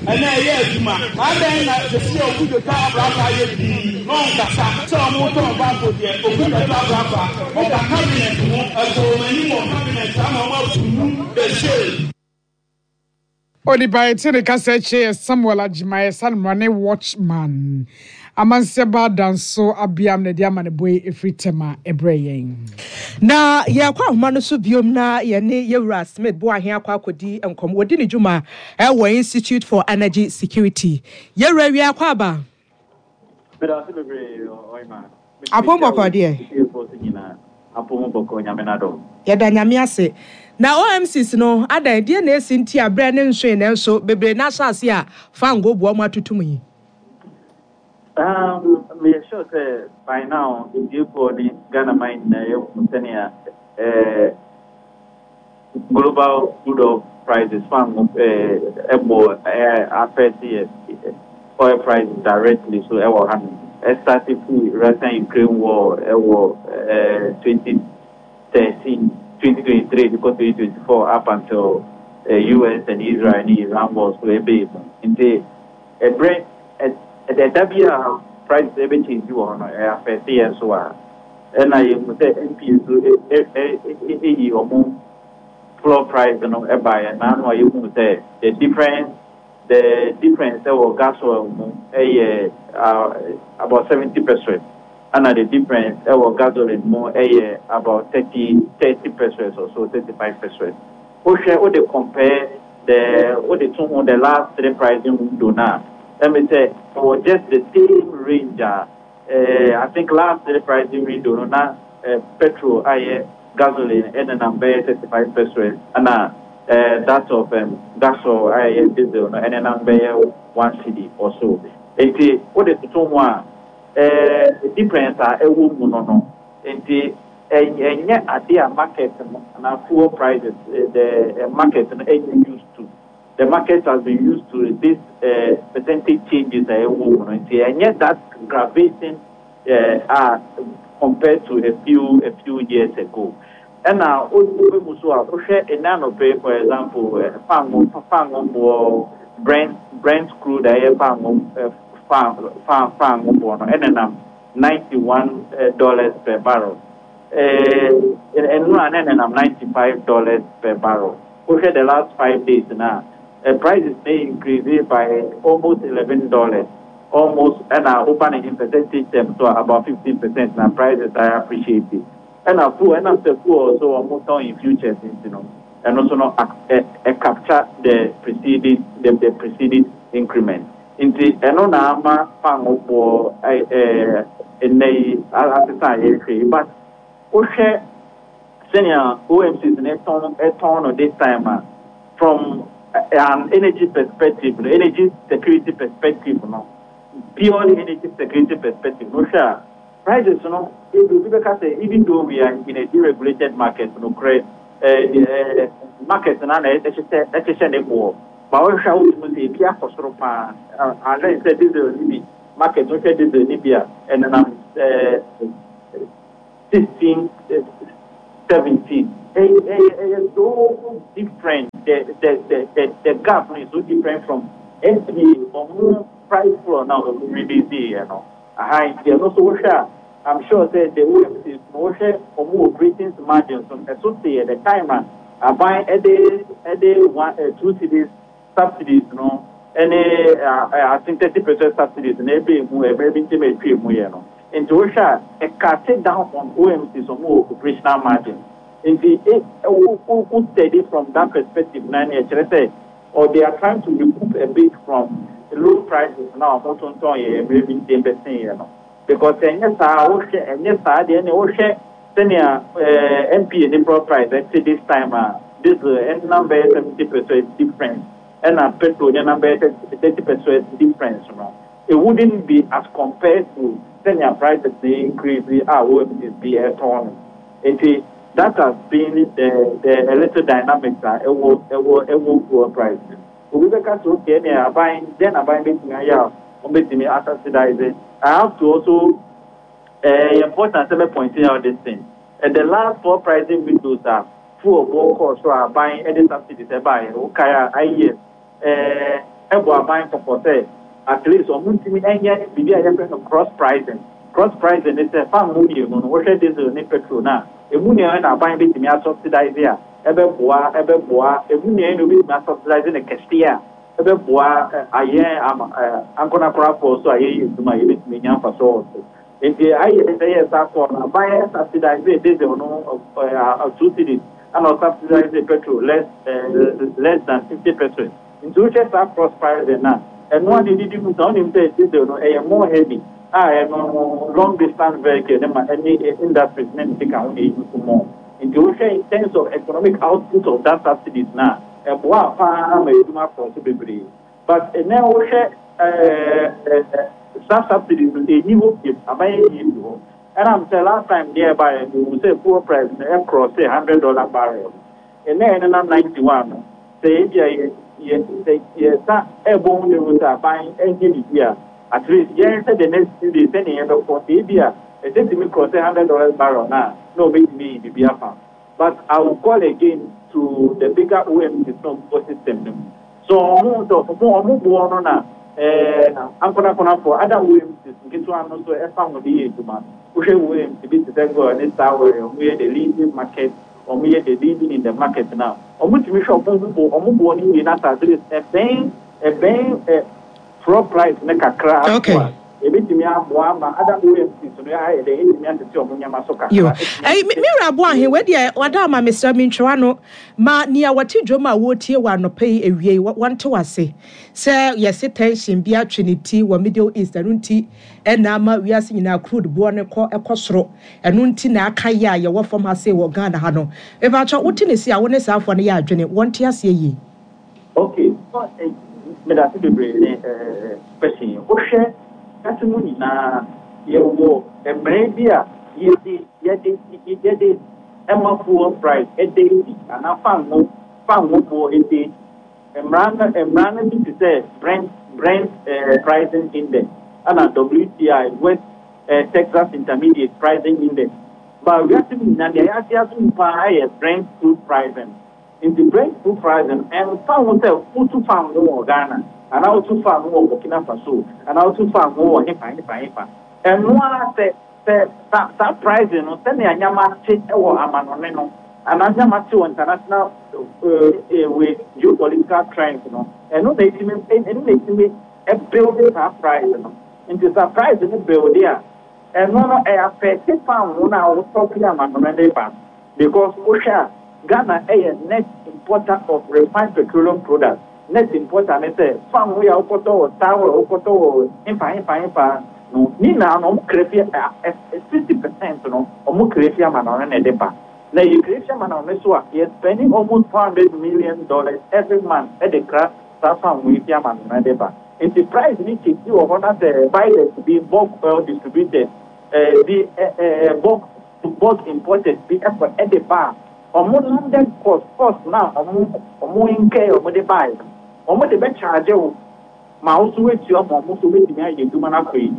Speaker 11: Ɛnɛ ɛyɛ adwuma adan na sisi a obi bɛtɔ abraka ayɛ dii na ɔnkasa sɛ ɔmo tɔn baako deɛ, obi bɛtɔ abraka ɔka cabinet ho, ɛkɔ wɔn anim wɔ cabinet ama ɔmo approve the sale.
Speaker 5: Onipa yɛte ne kasa akyi yɛ Samuel Agyemayɛ Sanmra ne Watchman Amansɛba Danso Abiam na ɛde ama ne boy ɛfiri Tɛma ɛbrɛ yɛn.
Speaker 7: Na yɛkɔ ahoma no so biom na yɛne yɛwura Smith Boahe akɔ akɔdi nkɔmmɔ. Wɔdi ne dwuma ɛwɔ Institute for Energy Security. Yɛwura, wie akɔ aba.
Speaker 12: Medase bebree, ɔyima.
Speaker 7: Apom bɔkɔ deɛ?
Speaker 12: Nyinaa apom bɔkɔ, Nyame n'adom.
Speaker 7: Yɛda Nyame ase. Na O M Cs no adan deɛ na esi nti abrɛ ne nsoe, nanso bebree n'ahyɛ ase a fango boa mu atutum yi?
Speaker 12: Um, meyɛ sure sɛ by now etiefoɔ ne Ghana man nyinaa yɛhu sɛnea eh, global crude oil prices, fango eh, ɛbɔ eh, affect yɛ oil prices directly. So ɛwɔ ha no, ɛstart firi Russia Ukraine war ɛwɔ eh, twenty thirteen, twenty twenty-three because twenty twenty-four up until uh, U S and Israel ne Iran war so ɛbɛyɛ mu. Nti ɛbrɛ ɛda bi a prices ɛbɛchange wɔ hɔ no, ɛyɛ affect yɛn so a ɛna yɛhu sɛ N P A so ɛyi ɔmo floor price no ɛbaeɛ n'ano a yɛhu sɛ the difference the difference ɛwɔ gas oil mu ɛyɛ uh, about seventy percent, ɛna the difference ɛwɔ gasoline mu ɛyɛ about thirty thirty percent or so, thirty five percent. Wohwɛ, wode compare the wode to ho the last three pricing window na ɛmi sɛ ɛwɔ just the same range a uh, I think last three pricing window no na uh, petrol ayɛ gasoline ɛnenam bɛyɛ thirty five percent, ɛna uh, that of um, gasoil ayɛ diesel no ɛnenam bɛyɛ one cedi or so. Nti wode toto ho a, uh, difference a ɛwɔ mu no no nti ɛnyɛ ade a market no na fuel prices, the uh, market no ɛnyɛ used to. The market has been used to this uh, percentage changes a ɛwɔ mu no, nti ɛnyɛ that aggravating uh, uh, compared to a few a few years ago. Ɛna wobɛ mu so a, wohwɛ ɛnɛ anɔpɛ, for example, fango fango boɔ, brent brent crude a ɛyɛ fango fan fan fango boɔ no ɛnenam ninety one dollars per barrel. Ɛno a na ɛnenam ninety five dollars per barrel. Wohwɛ the last five days na uh, prices may increase by almost eleven dollars almost. Ɛna woba ne in percentage terms so about fifteen percent na prices are appreciated. Ɛna fuel, ɛna sɛ fuel so wɔn tɔn in futures nti no, ɛno so no ɛ ɛ capture the preceding the the preceding increment. Nti ɛno na ama fango boɔ ɛ ɛ ɛnɛ yi asesa a yɛrehwɛ yi. But wohwɛ sɛnea O M Cs ne tɔn ɛtɔn no this time a, from an energy perspective no, energy security perspective no, purely energy security perspective no, hwɛ a prices no, ebi obi bɛka sɛ even though we are in a deregulated market no korɛ, ɛɛ ɛɛ market na na ɛhyehyɛ ɛhyehyɛ ne boɔ ba. Wɔhwɛ a, wotumi sɛ ebi akɔ soro paa. Unless sɛ diesel ni bi market, wohwɛ diesel ni bi a, ɛnenam ɛɛ sixteen seventeen ɛyɛ ɛyɛ ɛyɛ so different the the the the the gap no is so different from N P A ɔmo price floor na ɔmo release yɛ no aha. Nti ɛno nso wohwɛ a, I'm sure sɛ the O M Cs no, wohwɛ ɔmo operating margins no, ɛso te yɛ the time a aban ɛde ɛde one ɛ two cedis subsidies no ɛne ɛ I think thirty percent subsidies na ebe mu ɛmɛ bi ntɛm etwa mu yɛ no. Nti wohwɛ a, ɛcut down on O M Cs ɔmo operational margin. Nti e wo wo wo study from that perspective na ne ɛkyerɛ sɛ or they are trying to recoup a bit from low prices na ɔmo tontɔn yɛ mmerɛ bi ntɛm bɛsen yɛ no, because ɛnyɛ saa, wohwɛ ɛnyɛ saa deɛ, ɛne wohwɛ sɛnea ɛɛ N P A ne fuel price ɛte this time a, diesel ɛnam bɛyɛ seventy percent difference, ɛna petrol ne nam bɛyɛ thirty percent difference no, it wouldn't be as compared to sɛnea prices ne increase a O M Cs bi ɛtɔn no. Nti that has been the the a little dynamics a ɛwɔ ɛwɔ ɛwɔ fuel price. Obi bɛka sɛ, okay, ɛnea aban then aban bɛtumi ayɛ a wɔn bɛtumi asubsidize. I have to also uh, important sɛ bɛ pointing out this thing. uh, the last four pricing windows a fuel bɔ kɔɔ so a aban ɛde subsidies ɛbaeɛ, wokae a, ayɛ ɛɛ ɛbɔ aban kɔkɔ sɛ at least ɔmo ntumi ɛnyɛ biribi a yɛfrɛ no cross pricing. Cross pricing ne sɛ fan mu mmienu no, wohwɛ diesel ne petrol na emu nea na aban bɛtumi asubsidize a ɛbɛboa ɛbɛboa emu nea na obɛtumi asubsidize ne kɛseɛ a ɛbɛboa ayɛ ama ɛɛ ankorakorafoɔ so a yɛyɛ adwuma a yɛbɛtumi nya mfasoɔ wɔ so. Nti ayɛ sɛ yɛ saa kɔɔ no, aban subsidize diesel no ɛɛ two cedis ɛna ɔsubsidize petrol less ɛɛ less than fifty percent. Nti wohwɛ saa cross pricing na ɛno a de didi mu sɛ ɔnim sɛ diesel no ɛyɛ more heavy a ɛno long distance vehicle ne ma ɛne industries ne ne sika ho na eyi so more. Nti wohwɛ in terms of economic output of that subsidies na ɛboa paa ma edwuma kɔ so bebree. But ɛnɛ wohwɛ ɛɛ ɛɛ saa subsidies no, enyi hɔ biem, aban enyi bi hɔ. Ɛnam sɛ last time deɛ ɛba yɛ no, ehu sɛ fuel price no ɛcross sɛ hundred dollar barrel. Ɛnɛ ɛnenam ninety one no, sɛ ebi a yɛ yɛ sɛ yɛsa ɛbɔ ho ne ho sɛ aban ɛnyɛ biribi a, at least yɛn sɛ the next few days sɛnea yɛbɛkɔ, sɛ ebi a ɛsɛ tumi cross sɛ hundred dollars barrel na na obetumi yi biribi afa. But I will call again to the bigger O M Cs no ɔmo system no mu so ɔmo sɛ ɔmo ɔmo boɔ no na ɛɛ ankorakorafoɔ ada O M Cs nketewa no so ɛfa ho de yɛ adwuma. Wohwɛ O M C bi te sɛ GOIL ne Star Oil, ɔmo yɛ the leading market, ɔmo yɛ the leading in the market now. Ɔmo tumi hwɛ ɔmo bo ɔmo boɔ no yie na at least ɛbɛn ɛbɛn ɛ floor price ne kakra
Speaker 7: Okay.
Speaker 12: aso a ebitumi aboa ama ada O M Cs no ayɛ dɛ etumi atete ɔmo nneɛma so
Speaker 7: Yo.
Speaker 12: kakra.
Speaker 7: Ɛyi, me me wura Aboahe, wei deɛ wada ama mesrɛ me ntwewa no ma nea wɔte dwom a wɔretie wɔ anɔpa yi awie yi, wɔ- wɔnte wase sɛ yɛse tension bi atwe ne ti wɔ Middle East, ɛno nti ɛna ama wiase nyinaa crude boɔ no kɔ ɛkɔ soro, ɛno nti na aka yɛ a yɛwɔ fam ha sei wɔ Ghana ha no. Mepakyɛ wote ne si a wo ne saafoɔ no yɛ adwene, wɔnte aseɛ yie?
Speaker 12: Okay, so eh, medase bebree ne eh, question yi. Wohwɛ kase mu nyinaa, yɛwɔ mmerɛ bi a yɛde yɛde yɛde ɛma fuel price ɛda adi anaa fango fango boɔ ɛda adi. Mmara no mmara no bi te sɛ Brent Brent eh, pricing index ɛna W T I, West eh, Texas Intermediate pricing index. Ba wiase mu nyinaa, deɛ yɛate ato mu paa yɛ Brent crude pricing. Nti Brent crude pricing ɛmfa ho sɛ wotu fango wɔ Ghana anaa wotu fango wɔ Burkina Faso anaa wotu fango wɔ hefa hefa hefa, ɛno ara sɛ sɛ saa saa pricing no, sɛnea nyama te wɔ amanɔne no anaa nyama te wɔ international ɛɛ ɛɛ geopolitical trends no, ɛno na etimi ɛno na etimi ɛbuild saa price no. Nti saa price no build a, ɛno no ɛyɛ affect fango no a wotɔ fi amanɔne ne ba, because wohwɛ a, Ghana ɛyɛ net importer of refined petroleum products. Net importer ne sɛ fango yɛ a wokɔtɔ wɔ Star Oil, wokɔtɔ wɔ hefa hefa hefa no ne nyinaa no, ɔmo kra fi ɛ sixty percent no, ɔmo kra fi amanɔne na ɛde ba. Na yɛ kra fi amanɔne so a, yɛ spending almost four hundred million dollars every month ɛde kra saa fango yi fi amanɔne de ba. Nti price ni kyekyi wɔ hɔ na sɛ buyers bi, bulk oil distributors ɛɛ bi ɛ ɛ bulk bulk importers bi ɛkɔ ɛde ba a, ɔmo landed cost cost na ɔmo ɔmo nkɛ ɔmo de baa no, ɔmo de bɛ charge wo ma wo so wetua ma ɔmo so wetumi ayɛ adwuma no akɔ yi.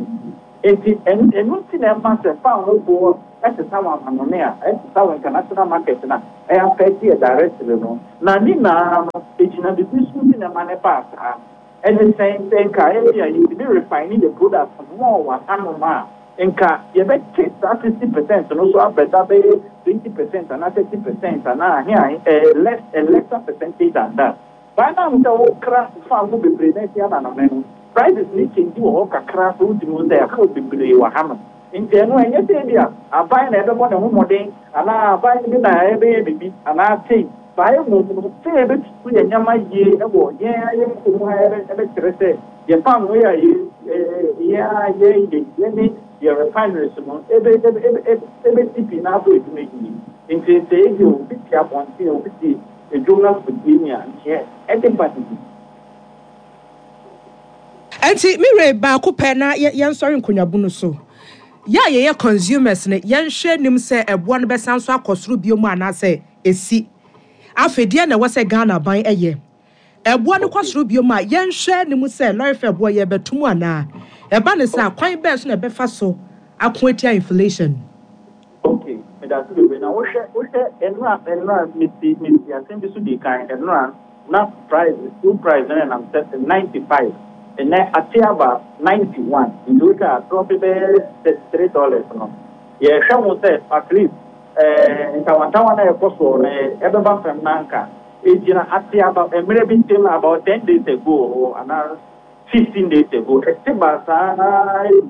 Speaker 12: Nti ɛno nti na ɛma sɛ fango boɔ ɛsesa wɔ amanɔne a ɛsesa wɔ international market na ɛyɛ affect yɛ directly no. Na ne nyinaa no egyina bibi so nti na ɛma ne baa saa. Ɛne sɛn? Sɛ nka ebi a yɛtumi refine the product more wɔ hanom a, nka yɛbɛte saa sixty percent no so abɛda bɛyɛ twenty percent anaa thirty percent anaa ahe ahe, ɛɛ less, a lesser percentage than that. Baa na sɛ wokra fango bebree na esi amanɔne no, prices ne change wɔ hɔ kakra so, wotumi hu sɛ ɛhaw bebree wɔ hanom. Nti ɛno ɛnyɛ sɛ bi a aban na ɛbɛbɔ ne ho mmɔden anaa aban bi na ɛbɛyɛ bibi anaa sei saa. Mmom no, sɛ yɛbɛtutu yɛn nneɛma yie ɛwɔ yɛn ayɛ kurom ha, ɛbɛkyerɛ sɛ yɛn fango yi a yɛ yɛn a yɛyɛ yɛne yɛ refineries no ebe ebe ebe ebesi pii na abɔ edwuma yie. Nti sɛ ebi obi te abɔnten, obi te edwom na fotie ni a, neɛ ɛde ba ne bi.
Speaker 7: Nti mewere baako pɛ na yɛnsɔre nkonnwabu no so. Yɛ a yɛyɛ consumers no, yɛnhwɛ nim sɛ ɛboɔ no bɛsan so akɔ soro bio mu anaasɛ ɛsi. Afei deɛ na ɛwɔ sɛ Ghana ban ɛyɛ, ɛboɔ no kɔ soro bio mu a, yɛnhwɛ nim sɛ lorry fare boɔ yɛbɛto mu anaa ɛba ne sɛ kwan bɛɛ so na ɛbɛfa so ako atia inflation?
Speaker 12: Okay, medase bebree. Na wohwɛ wohwɛ ɛnura ɛnura mesi mesi asɛm bi so di kan. Ɛnura na price, fuel price no nam sɛ ninety five, ɛnɛ ate aba ninety one. Nti wohwɛ a, drop bɛyɛ thirty three dollars no. Yɛhwɛ ho sɛ at least ɛɛ ntawantawa na ɛkɔ soɔ no ɛbɛba fam. Na nka egyina ate aba mmerɛ bi ntɛm, about ten days ago or anaa fifteen days ago, ɛte ba saa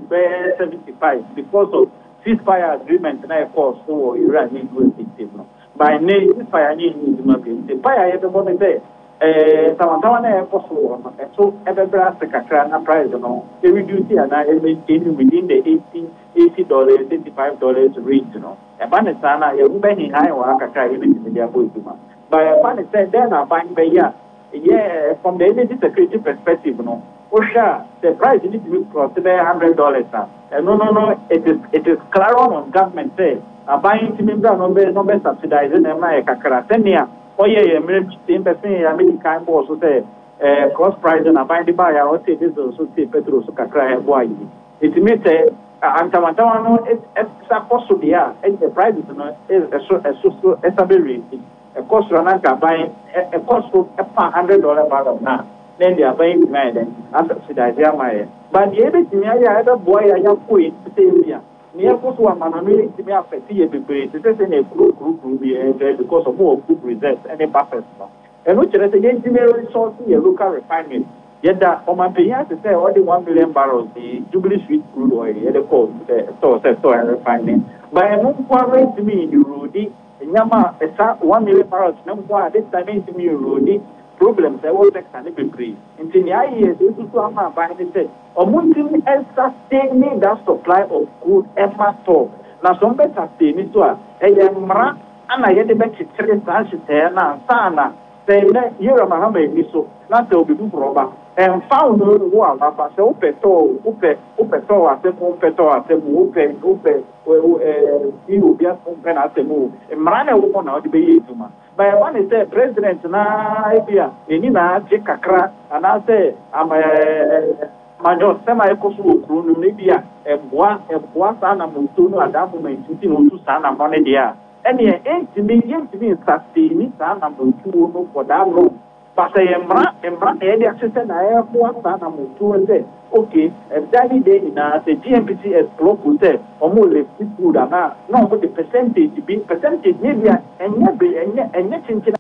Speaker 12: bɛyɛ seventy five because of ceasefire agreement na ɛkɔɔ so wɔ Iran ne U S ntam no. By ne ceasefire ne ɛnyɛ adwuma bio, nti mpaeɛ a yɛbɛbɔ ne sɛ ɛɛ ntawantawa na ɛkɔ so wɔ no, ɛso ɛbɛbrɛ ase kakra na price no ɛreduce anaa ɛmaintain within the eighty eighty dollars, eighty five dollars range no. Ɛba ne saa na yɛho bɛhehan wɔ ha kakra a yɛbɛtumi de abɔ adwuma. But ɛba ne sɛ dɛn na aban bɛyɛ a, yɛ from the energy security perspective no, wohwɛ a, the price ni tumi cross bɛyɛ hundred dollars a, ɛno no no it is it is clear on government sɛ aban ntumi mbra no bɛ no bɛ subsidize na ɛma yɛ kakra, sɛnea ɔyɛ yɛ mmerɛ bi sɛ mpɛ sɛ yɛ American bɔɔ so sɛ ɛɛ cross price na aban de baa yɛ a, ɔte diesel so, te petrol so kakra a ɛboa yi. Etumi sɛ ntawantawa no ɛsa kɔ so deɛ a, ɛnyɛ prices no ɛso ɛso so ɛsa bɛ raise, ɛkɔ soro na nka aban ɛkɔ so ɛpa hundred dollar barrel na na ɛde aban yi tumi ayɛ dɛ asubsidize ama yɛ. But deɛ ebɛtumi ayɛ a ɛbɛboa yɛ a yɛakɔ yi sɛ ebi a nea ɛkɔ so ama no no yɛntumi afɛte yɛ bebree te sɛ sɛ na ekuro kuro kuro bi ɛɛ because ɔmo wɔ good reserves ɛne buffers no. Ɛno kyerɛ sɛ yɛntumi resource yɛ local refinery. Yɛda ɔmanpanyin ase sɛ ɔde one million barrels di Jubilee Sweet crude oil yɛde kɔ ɛ tɔɔ sɛ tɔɔ ɛrefining, but ɛno nko ara ntumi erode nneɛma a ɛsa one million barrels ne nko a this time ntumi erode problems ɛwɔ sector ne bebree. Nti nea ayɛ yɛ sɛ esusu ama aban ne sɛ ɔmo ntumi ɛsustain that supply of crude ɛma tɔ na sɛ ɔmo bɛ sustain so a, ɛyɛ mmara ana yɛde bɛkyekyere saa nhyehyɛeɛ no ansa na sɛ nnɛ yɛwura Mahama ani so na sɛ obi foforɔ ba, ɛmfa wo ho wo a waba sɛ wopɛ tɔɔ, wopɛ wopɛ tɔɔ asɛm, wopɛ tɔɔ asɛm, wopɛ wopɛ ɛɛ ti obi asɛm, wopɛ n'asɛm o, mmara na ɛwɔ hɔ na ɔde bɛyɛ adwuma. Ba ɛba ne sɛ president naa ebi a n'ani na agye kakra anaasɛ ama ɛɛ amanyɔsɛm a ɛkɔ so wɔ kuro no mu ebi a ɛboa ɛboa saa anamontuo no at that moment nti na otu saa anammɔ no deɛ a, ɛneɛ ɛntumi yɛntumi nsustain saa anamontuo no for that long. But sɛ yɛ mmara mmara na yɛde ahyehyɛ na ɛboa saa anamontuo sɛ okay, ɛda ne de nyinaa sɛ G N P C explore sɛ ɔmo lift crude anaa na ɔmo de percentage bi, percentage ne bi a ɛnyɛ be ɛnyɛ ɛnyɛ kyenkyen.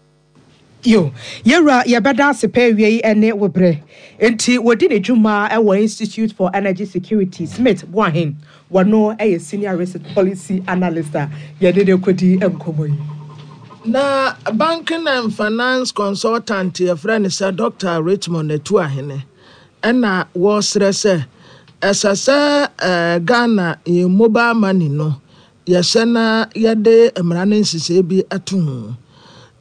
Speaker 7: Yo, yɛwura, yɛbɛda ase pɛ awie yi ne wo berɛ. Nti wɔdi ne dwuma wɔ Institute for Energy Security, Smith Boahen, wɔno yɛ senior research policy analyst a yɛde ne kɔdi nkɔmmɔ yi.
Speaker 8: Na banking and finance consultant yɛfrɛ no sɛ Doctor Richmond Atuahene ɛna wɔresrɛ sɛ ɛsɛ sɛ ɛɛ Ghana yɛn mobile money no yɛhyɛ na yɛde mmara no nhyehyɛe bi ato ho.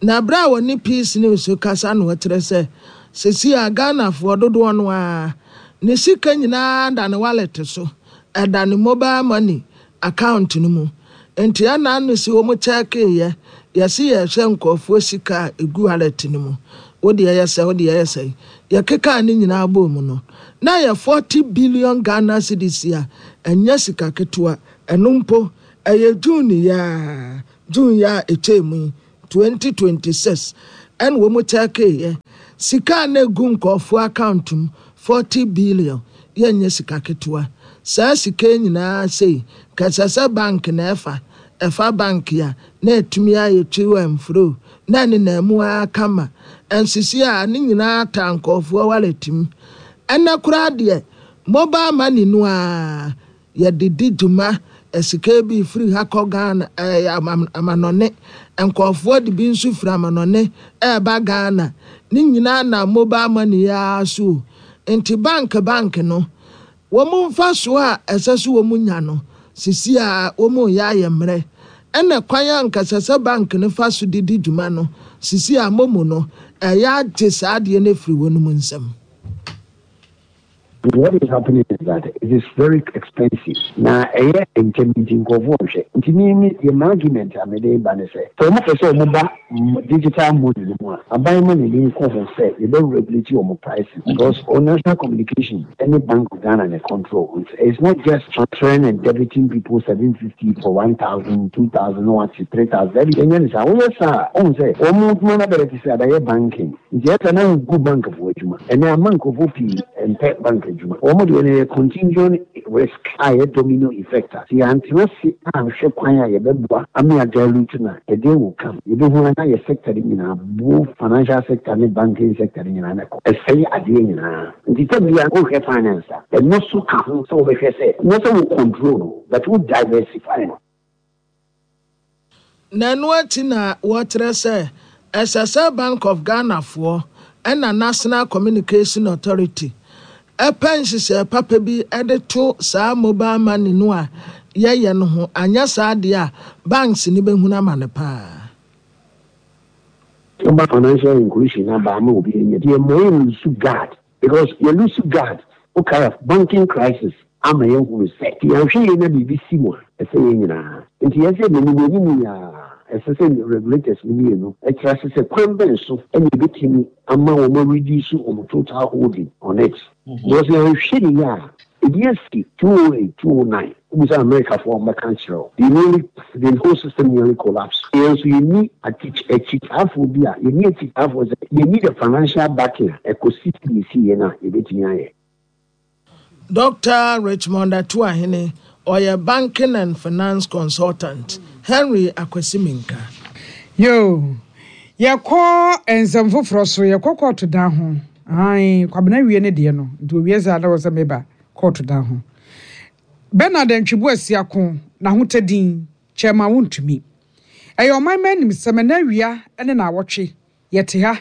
Speaker 8: Na abere a wɔne Peace News kasa no, wɔkyerɛ sɛ sisi a Ghanafoɔ dodoɔ no ara ne sika nyinaa da ne wallet so, ɛda ne mobile money account no mu. Nti ɛna ano si wɔn kyɛɛkeeɛ, yɛsi yɛhwɛ nkurɔfoɔ sika a egu wallet no mu, Wo deɛ yɛ sɛ, wo deɛ yɛ sɛn. Yɛkekaa ne nyinaa bɔɔ mu no, na ɛyɛ forty billion Ghana cedis a ɛnyɛ sika ketewa. Ɛno mpo, ɛyɛ June yi ara, June yi a ɛtwaa mu yi, twenty twenty six, ɛna wɔn kyɛkeeɛ. Sika a na ɛgu nkurɔfoɔ account mu, forty billion, yɛnyɛ sika ketewa. Saa sika yi nyinaa sei, nka ɛsɛ sɛ bank na ɛfa. Ɛfa bank a, na ɛtumi ayɛ to and fro, na ɛnenam mu ara kama. Ɛnsisi a, ne nyinaa taa nkurɔfoɔ wallet mu. Ɛnnɛ koraa deɛ, mobile money no ara, yɛde di dwuma. Sika bi firi ha kɔ Ghana, ɛɛ amanɔne. Nkurɔfoɔ de bi nso firi amanɔne ɛreba Ghana. Ne nyinaa nam mobile money yi ara so o. Nti bank bank no, wɔn mfasoɔ a ɛsɛ sɛ wɔn nya no, sisi a wɔn reyɛ ayɛ mmerɛ. Ɛna kwan a anka ɛsɛ sɛ bank no fa so de di dwuma no, sisi a momo no, ɛyɛ agye saa adeɛ no afiri wɔn nsam.
Speaker 13: What is happening is that it is very expensive. Na ɛyɛ ntɛm nti nkurɔfoɔ nhwɛ. Nti me me yɛ my argument a mede ba ne sɛ, sɛ wɔn pɛ sɛ wɔn ba digital money no mu a, aban ma n'ani nkɔ ho sɛ yɛbɛ regulate wɔn pricing, because on National Communication ɛne Bank of Ghana ne control. It's not just transferring and debiting people seven fifty for one thousand, two thousand, one, three thousand. Ɛbi ɛnyɛ ne saa. Wɔyɛ saa, ɔn sɛ wɔn adwuma no abɛrɛ te sɛ abɛyɛ banking. Nti ɛsɛ na wogu bank foɔ adwuma. Ɛnɛ ama nkurɔfoɔ pii mpɛ bank adwuma. Wɔn deɛ no yɛ contagion risk a ɛyɛ domino effect a. Sɛ yɛantena se anhwɛ kwan a yɛbɛboa ama yɛadilute no a, ɛdeɛ will come. Yɛbɛhu a na yɛ sector no nyinaa, both financial sector ne banking sector no nyinaa na ɛkɔ. Ɛsɛe adeɛ nyinaa. Nti sɛ bia wohwɛ finance a, ɛno so ka ho sɛ wobɛhwɛ sɛ, nyɛ sɛ wo control no, but wo diversify no.
Speaker 8: Na ɛno akyi na wɔkyerɛ sɛ ɛsɛ sɛ Bank of Ghanafoɔ ɛna National Communication Authority ɛpɛ nhyehyɛe papa bi ɛde to saa mobile money no a yɛyɛ no ho. Anyɛ saa deɛ a, banks ni bɛhunu ama no paa.
Speaker 13: Woba financial inclusion aba ama obi anya deɛ mma yɛ lose guard, because yɛ lose guard, wokae banking crisis ama yɛhunu sɛ yɛanhwɛ yie na biribi si mu a, ɛsɛ yɛn nyinaa. Nti yɛsɛ n'anim anim yɛ a, ɛsɛ sɛ regulators no mmienu ɛkyerɛ ase sɛ kwan bɛn so ɛna ebɛtumi ama wɔn reduce wɔn total holding on it, because yɛanhwɛ ne yie a, ebi asi two oh eight, two oh nine. Wobisa Americafoɔ a, wɔbɛka kyerɛ wo, they nearly the whole system nearly collapse. Yɛn nso yɛnni akyitaafoɔ bi a yɛnni akyitaafoɔ sɛ yɛnni the financial backing a ɛkɔsi ne si yɛn a yɛbɛtumi ayɛ.
Speaker 8: Doctor Richmond Atuahene, ɔyɛ banking and finance consultant. Henry Akwasi Minka.
Speaker 5: Yo, yɛkɔ nsɛm foforɔ so. Yɛkɔ kɔɔto dan ho. Ae, Kwabena wie ne deɛ no nti owie saa na wɔ sɛ meba kɔɔto dan ho. Bernard Antwi Boasiako n'ahotadin Chairman Wontumi, ɛyɛ ɔman ma anim sɛm. Ɛna awia ne na awɔtwe yɛte ha,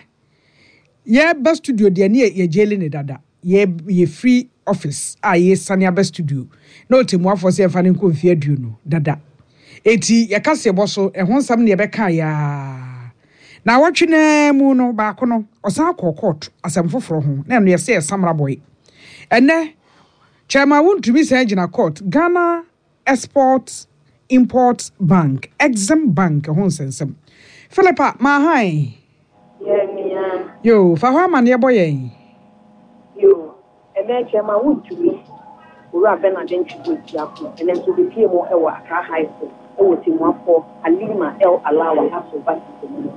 Speaker 5: yɛba studio deɛ ne yɛgyeli ne dada. Yɛ yɛfiri office a yɛsane aba studio na ɔtɛmmuafoɔ sɛ yɛmfa no nkɔ mfeɛ aduonu dada. Eti yɛka sɛ yɛbɔ so ɛho nsɛm ne yɛbɛka yaa na awɔtwe naa mu no baako no ɔsan kɔɔ court asɛm foforɔ ho na ɛno yɛsɛ yɛ samra boy. Ɛnɛ Chairman Wontumi san gyina court, Ghana Export Import Bank, Exim Bank ho nsɛnsɛm. Philippa Mahan.
Speaker 14: Yɛ
Speaker 5: yo, fa hɔ amanneɛ bɔ yɛn.
Speaker 14: Yo, ɛnɛ Chairman Wontumi, Owura Bernard Antwi Boasiako, ɛnɛ nso obepie mu ɛwɔ Accra High Court ɛwɔ Timuafoɔ Halima El Alawa aso basisi mu no.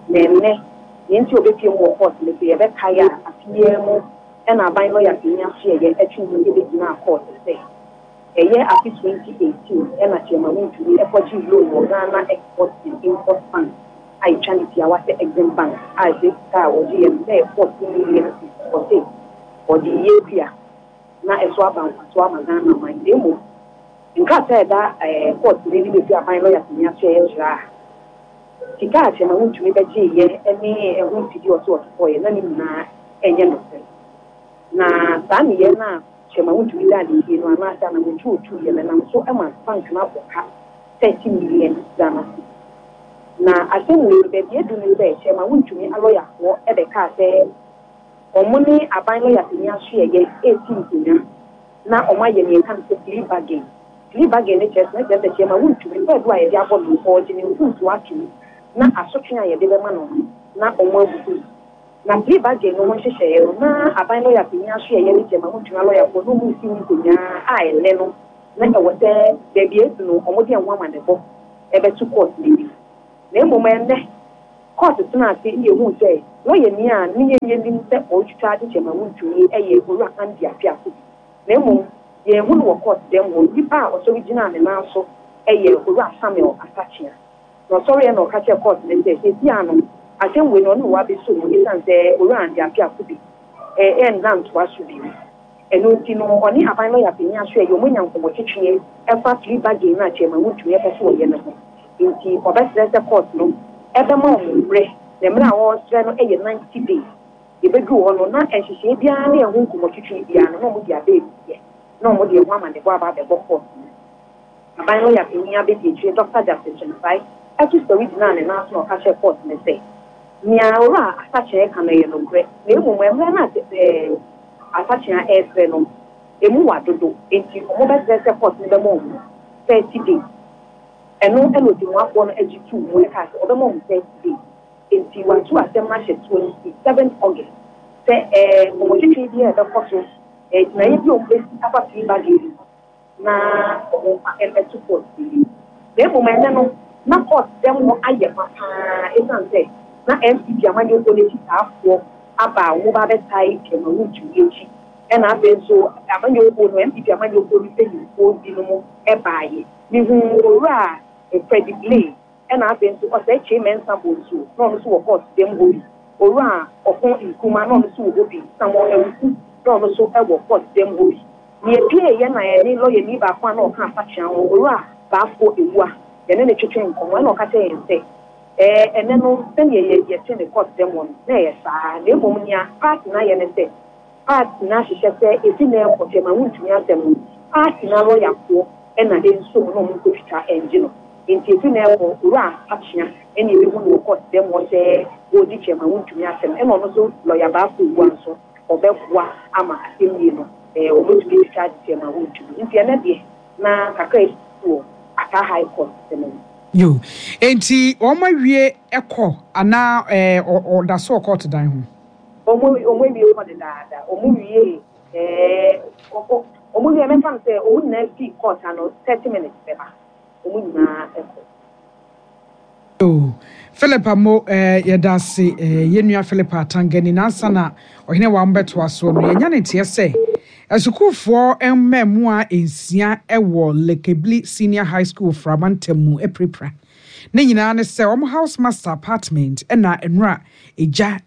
Speaker 14: Na ɛnɛ nea nti obepie mu wɔ court no so, yɛbɛkae a afeɛ mu ɛna aban lɔya panyin asoɛyɛ ɛtwe mu ɛbɛgyina court sɛ ɛyɛ afe twenty eighteen ɛna Chairman Wontumi ɛkɔgye loan wɔ Ghana Export and Import Bank a ɛtwa ne tiawa sɛ Exim Bank, a ɛsɛ sika a wɔgye yɛ no sɛ fourteen million cedis. Ɔse ɔde yie kua na ɛso aba mfaso ama Ghana man, na mmom nkrataa a ɛda ɛɛ court no anim efi aban lɔya panyin asoɛyɛ kyerɛ a sika a Chairman Wontumi bɛgye yɛ ne ɛho mfidie ɔso ɔtotɔɔyɛ na ne nyinaa ɛnyɛ nokorɛ. Na saa nneyɛɛ no a Chairman Wontumi da ne yie no anaasɛ anamotu otu yɛ no nam so ma bank no abɔ ka thirty million Ghana cedis. Na asɛm wei no, baabi edu no sɛ Chairman Wontumi alɔyafoɔ ɛbɛkaa sɛ ɔmo ne aban lɔya panyin asoɛyɛ esi nkonnwa na ɔmo ayɛ nea ɛka no sɛ plea bargain. Plea bargain ne kyerɛ sɛ ne kyerɛ sɛ Chairman Wontumi kwaadu a yɛde abɔ no, ɔregye ne mfomsoɔ ato mu na asotwe a yɛde bɛma no no na ɔmo abubu. Na plea bargain no ho nhyehyɛeɛ no, na aban lɔya panyin aso yɛ ne Chairman Wontumi alɔyafoɔ na ɔmo si ho nkonnwa a ɛnnɛ no na ɛwɔ sɛ baabi edu no, ɔmo de ɛho amanebɔ ɛbɛto court n'anim. Na mmom ɛnnɛ court tena ase ne ehu sɛ lɔyani a ne yɛn yɛnim sɛ ɔretwitwa ade Chairman Wontumi ɛyɛ Owura Andy Appiah Kubi, na mmom yɛn hu no wɔ court dɛm hɔ. Nipa a ɔsɔre gyina ne nan so ɛyɛ Owura Samuel Asakyea, na ɔsɔre yɛ na ɔka kyerɛ court ne sɛ sɛsi ano asɛm wei no, ɔne wɔ abɛso mu esiane sɛ Owura Andy Appiah Kubi ɛɛ ɛnna ntoa so bi. Ɛno nti no, ɔne aban lɔya panyin aso ɛyɛ ɔmo nya nkɔmmɔtwetwe ɛfa plea bargain no a Chairman Wontumi ɛpɛ so wɔyɛ no ho, nti ɔbɛsrɛ sɛ court no ɛbɛma ɔmo mmerɛ, na mmerɛ a wɔresrɛ no ɛyɛ ninety days. Yɛbɛduru hɔ no na nhyehyɛeɛ biara ne ɛho nkɔmmɔtwetwe biara no na ɔmo de aba ebie na ɔmo de ɛho amanebɔ aba abɛbɔ court no. Aban lɔya panyin abɛdi akyire, Doctor Justice Kyensai, ɛto sɔre gyinaa ne nan so na ɔka kyerɛ court no sɛ nea Owura Asakyea ka no yɛ nokorɛ, na mmom mmerɛ no a ɛɛ Asakyea ɛresrɛ no emu wa dodo, nti ɔmo bɛsrɛ sɛ court no bɛma ɔmo thirty days. Ɛno ɛna otimuafoɔ no agye tuu mu ɛka sɛ ɔbɛma ɔmo thirty days, nti watu asɛm no ahyɛ twenty seven August sɛ ɛɛ nkɔmmɔtwetwe bi a ɛbɛkɔ so, ɛɛ gyinaeɛ bi a ɔmo bɛsi afa plea bargain na ɔmo mfa ɛbɛto court bi. Na mmom ɛnɛ no na court dɛm hɔ ayɛ ma paa, ɛsiane sɛ na N P P amanyɔkuo n'akyi saafoɔ aba a wɔn ba abɛtae Chairman Wontumi akyi, ɛna afei nso amanyɔkuo no, N P P amanyɔkuo no mpanyinfoɔ binom ɛbaayɛ. Mihu Owura Freddie Blay, ɛna afei nso Osei Kyei Mensah Bonsu na ɔno nso wɔ court dɛm hɔ bi, Owura Ɔko Nkrumah na ɔno nso wɔ hɔ bi, Samuel Awuku na ɔno nso wɔ court dɛm hɔ bi. Nea epie yɛ na yɛne lɔyani baako a na ɔka Asakyea ho, Owura Baafo Ewua, yɛne ne twetwe nkɔmmɔ, ɛna ɔka kyerɛ yɛn sɛ ɛɛ ɛnɛ no, sɛnea yɛ yɛte ne court dɛm hɔ no na ɛyɛ saa, na mmom nea party no ayɛ ne sɛ party no ahyehyɛ sɛ efi na ɛkɔ Chairman Wontumi asɛm no, party no alɔyafoɔ ɛna nsom na ɔmo nkotwitwa ɛngye no. Nti efi na ɛkɔ, Owura Akyea ɛna ebi hu no wɔ court dɛm hɔ sɛ wɔredi Chairman Wontumi asɛm, ɛna ɔno nso lɔya Baafo Ewua nso ɔbɛboa ama asɛm yie no ɛɛ ɔbɛtumi atwitwa agye Chairman Wontumi. Nti ɛnɛ deɛ na kakra esi wɔ Accra High Court sɛm no.
Speaker 5: Yo, enti wɔn awie ɛkɔ anaa ɛɛ ɔda so wɔ court dan ho?
Speaker 14: ɔmo ɔmo awie kɔ dedaada. Ɔmo wie ɛɛ ɔkɔ ɔmo wie, mɛfa no sɛ ɔmo nyinaa fi court ano thirty minutes bɛba, ɔmo nyinaa ɛkɔ.
Speaker 5: Yo, Philip Amo, ɛɛ yɛda ase. ɛɛ yɛn nua Philip Atangani nansa na ɔhene wa mbɛtoa soɔ no, yɛnya ne teɛ sɛ asukuufoɔ mmaamua nsia wɔ Lekebli Senior High School Framantam mu apirapira. Ne nyinaa ne sɛ wɔn house master apartment ɛna nnura egya